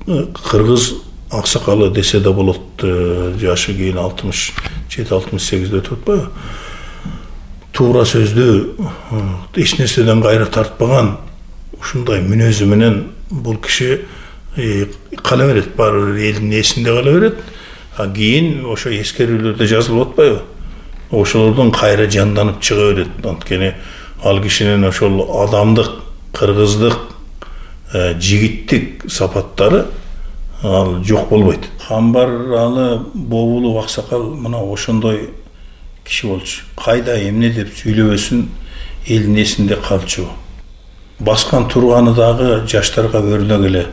кыргыз аксакалы десе да болот. Жашы кийин 67-68 өтүп атпайбы? Туура сөздү, эч нерседен кайра тартпаган ушундай мүнөзү менен бул киши кала берет, баары элдин эсинде кала берет. Кийин ошо эскерүүлөрдө жазылып атпайбы? Ошолордон кайра жанданып чыга берет. Анткени ал кишинин ошол адамдык, кыргыздык, жигиттик сапаттары ал жок болбойт. Камбаралы Бобулов аксакал мына ошондой киши болчу. Кайда эмне деп сүйлөбөсүн элдин эсинде калчу. Баскан турганы дагы жаштарга өрнөк эле.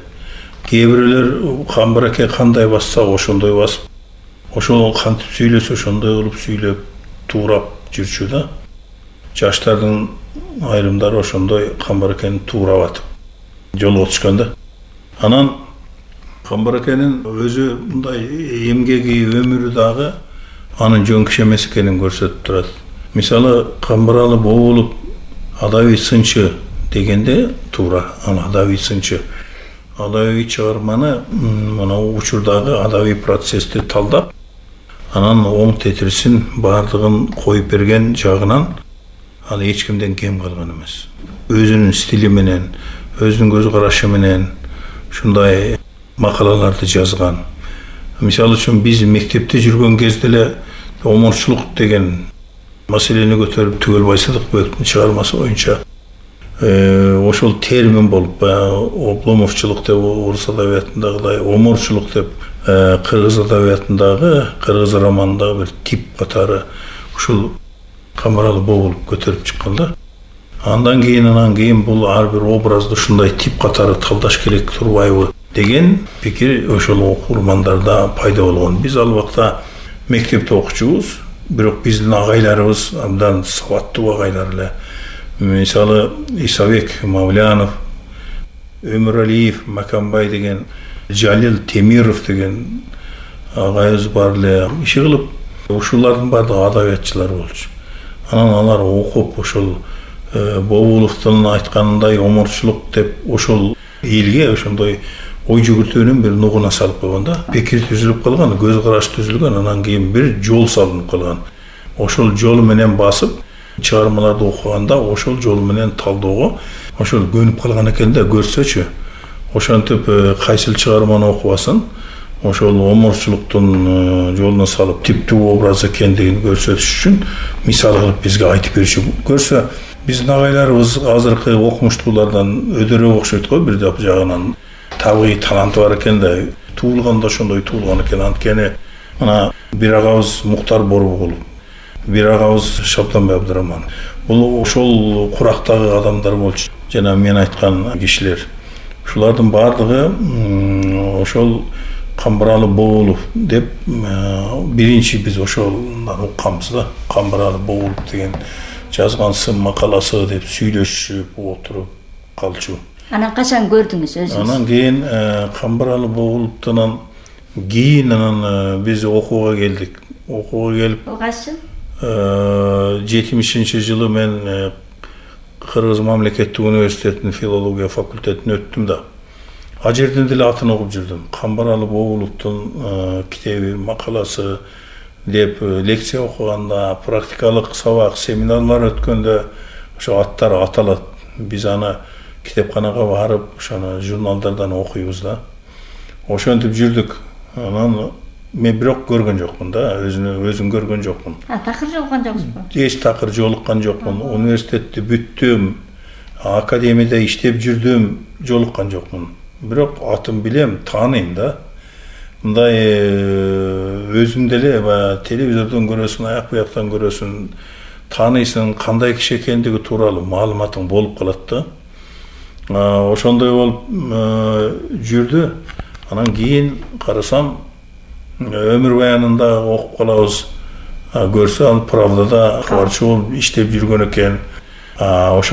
Кээ бирөөлөр Камбараке кандай басса ошондой басып, ошол кантип сүйлөсө ошондой кылып сүйлөп, туурап жүрчү да. Жаштардын айрымдары ошондой Камбаракени туурап атып жолго түшкөн да. Анан Камбаракенин өзү мындай эмгеги, өмүрү дагы анын жөн киши эмес экенин көрсөтүп турат. Мисалы, Камбаралы Бобулов адабий сынчы дегенде туура, ал адабий сынчы. Адабий чыгарманы мына учурдагы адабий процессти талдап, анан оң тетирисин баардыгын коюп берген жагынан ал эч кимден кем калган эмес. Өзүнүн стили менен, өзүнүн көз карашы менен ушундай макалаларды жазган. Мисалы үчүн биз мектепте жүргөн кезде эле оморчулук деген маселени көтөрүп Түгөл Байсыдыкбековдун чыгармасы боюнча ошол термин болуп, обломовчулук деп орус адабиятындагыдай, оморчулук деп кыргыз адабиятындагы, кыргыз романындагы бир тип катары ушул Камбаралы Бобулов көтөрүп чыккан да. Андан кийин бул ар бир образды ушундай тип катары талдаш керек турбайбы деген пикир ошол окурмандарда пайда болгон. Биз ал убакта мектепте окучубуз, бирок биздин агайларыбыз абдан сабаттуу агайлар эле. Мисалы, Исабек Мавлянов, Өмүралиев, Маканбай деген, Жалил Темиров деген агайыбыз бар эле. Иши кылып, ушулардын баардыгы адабиятчылар болчу. Анан алар окуп, ошол Бобуловдун айтканындай оморчулук деп ошол элге ошондой ой жүгүртүүнүн бир нугуна салып койгон да. Пикир түзүлүп калган, көз караш түзүлгөн, анан кийин бир жол салынып калган. Ошол жол менен басып, чыгармаларды окуганда ошол жол менен талоого ошол көнүп калган экен да, көрсөчү. Ошентип кайсыл чыгарманы окубасын, ошол оморчулуктун жолуна салып типтүү образ экендигин көрсөтүш үчүн мисал кылып бизге айтып берчү. Көрсө, биздин агайларыбыз азыркы окумуштуулардан өдөрөөк окшойт го, бир жагынан табигый таланты бар экен да, туулганда ошондой туулган экен. Анткени мына бир агабыз Муктар Борбогулов, бир агабыз Шабданбай Абдыраман. Бул ошол курактагы адамдар болчу. Жана мен айткан кишилер. Ушулардын баардыгы ошол Камбыралы Боолов деп биринчи биз ошолдан укканбыз да. Камбыралы Боолов деген жазган сын макаласы деп сүйлөшүп отуруп калчу. Анан качан көрдүңүз өзүңүз? Анан кийин Камбыралы Бооловдон кийин анан биз окууга келдик. Окууга келип Кайсы? 70-жылы мен Кыргыз мамлекеттик университетинин филология факультетине өттүм да. А жерден деле атын окуп жүрдүм. Камбыралы Бооловдун китеби, макаласы деп лекция окуганда, практикалык сабак, семинарлар өткөндө ошо аттары аталат. Биз аны китепканага барып, ошону журналдардан окуйбуз да. Ошентип жүрдүк. Анан мен бирок көргөн жокмун да, өзүн көргөн жокмун. Такыр жолуккан жоксузбу? Эч такыр жолуккан жокмун. Университетти бүттүм, академияда иштеп жүрдүм, жолуккан жокмун. Бирок атын билем, тааныйм да. Мындай өзүм деле телевизордон көрөсүң, аяк буяктан көрөсүң, тааныйсың, кандай киши экендиги тууралуу маалыматың болуп калат да. Ошондой болуп жүрдү. Анан кийин карасам, өмүр баянында окуп калабыз. Көрсө ал Правдада кабарчы болуп иштеп жүргөн экен. Ошо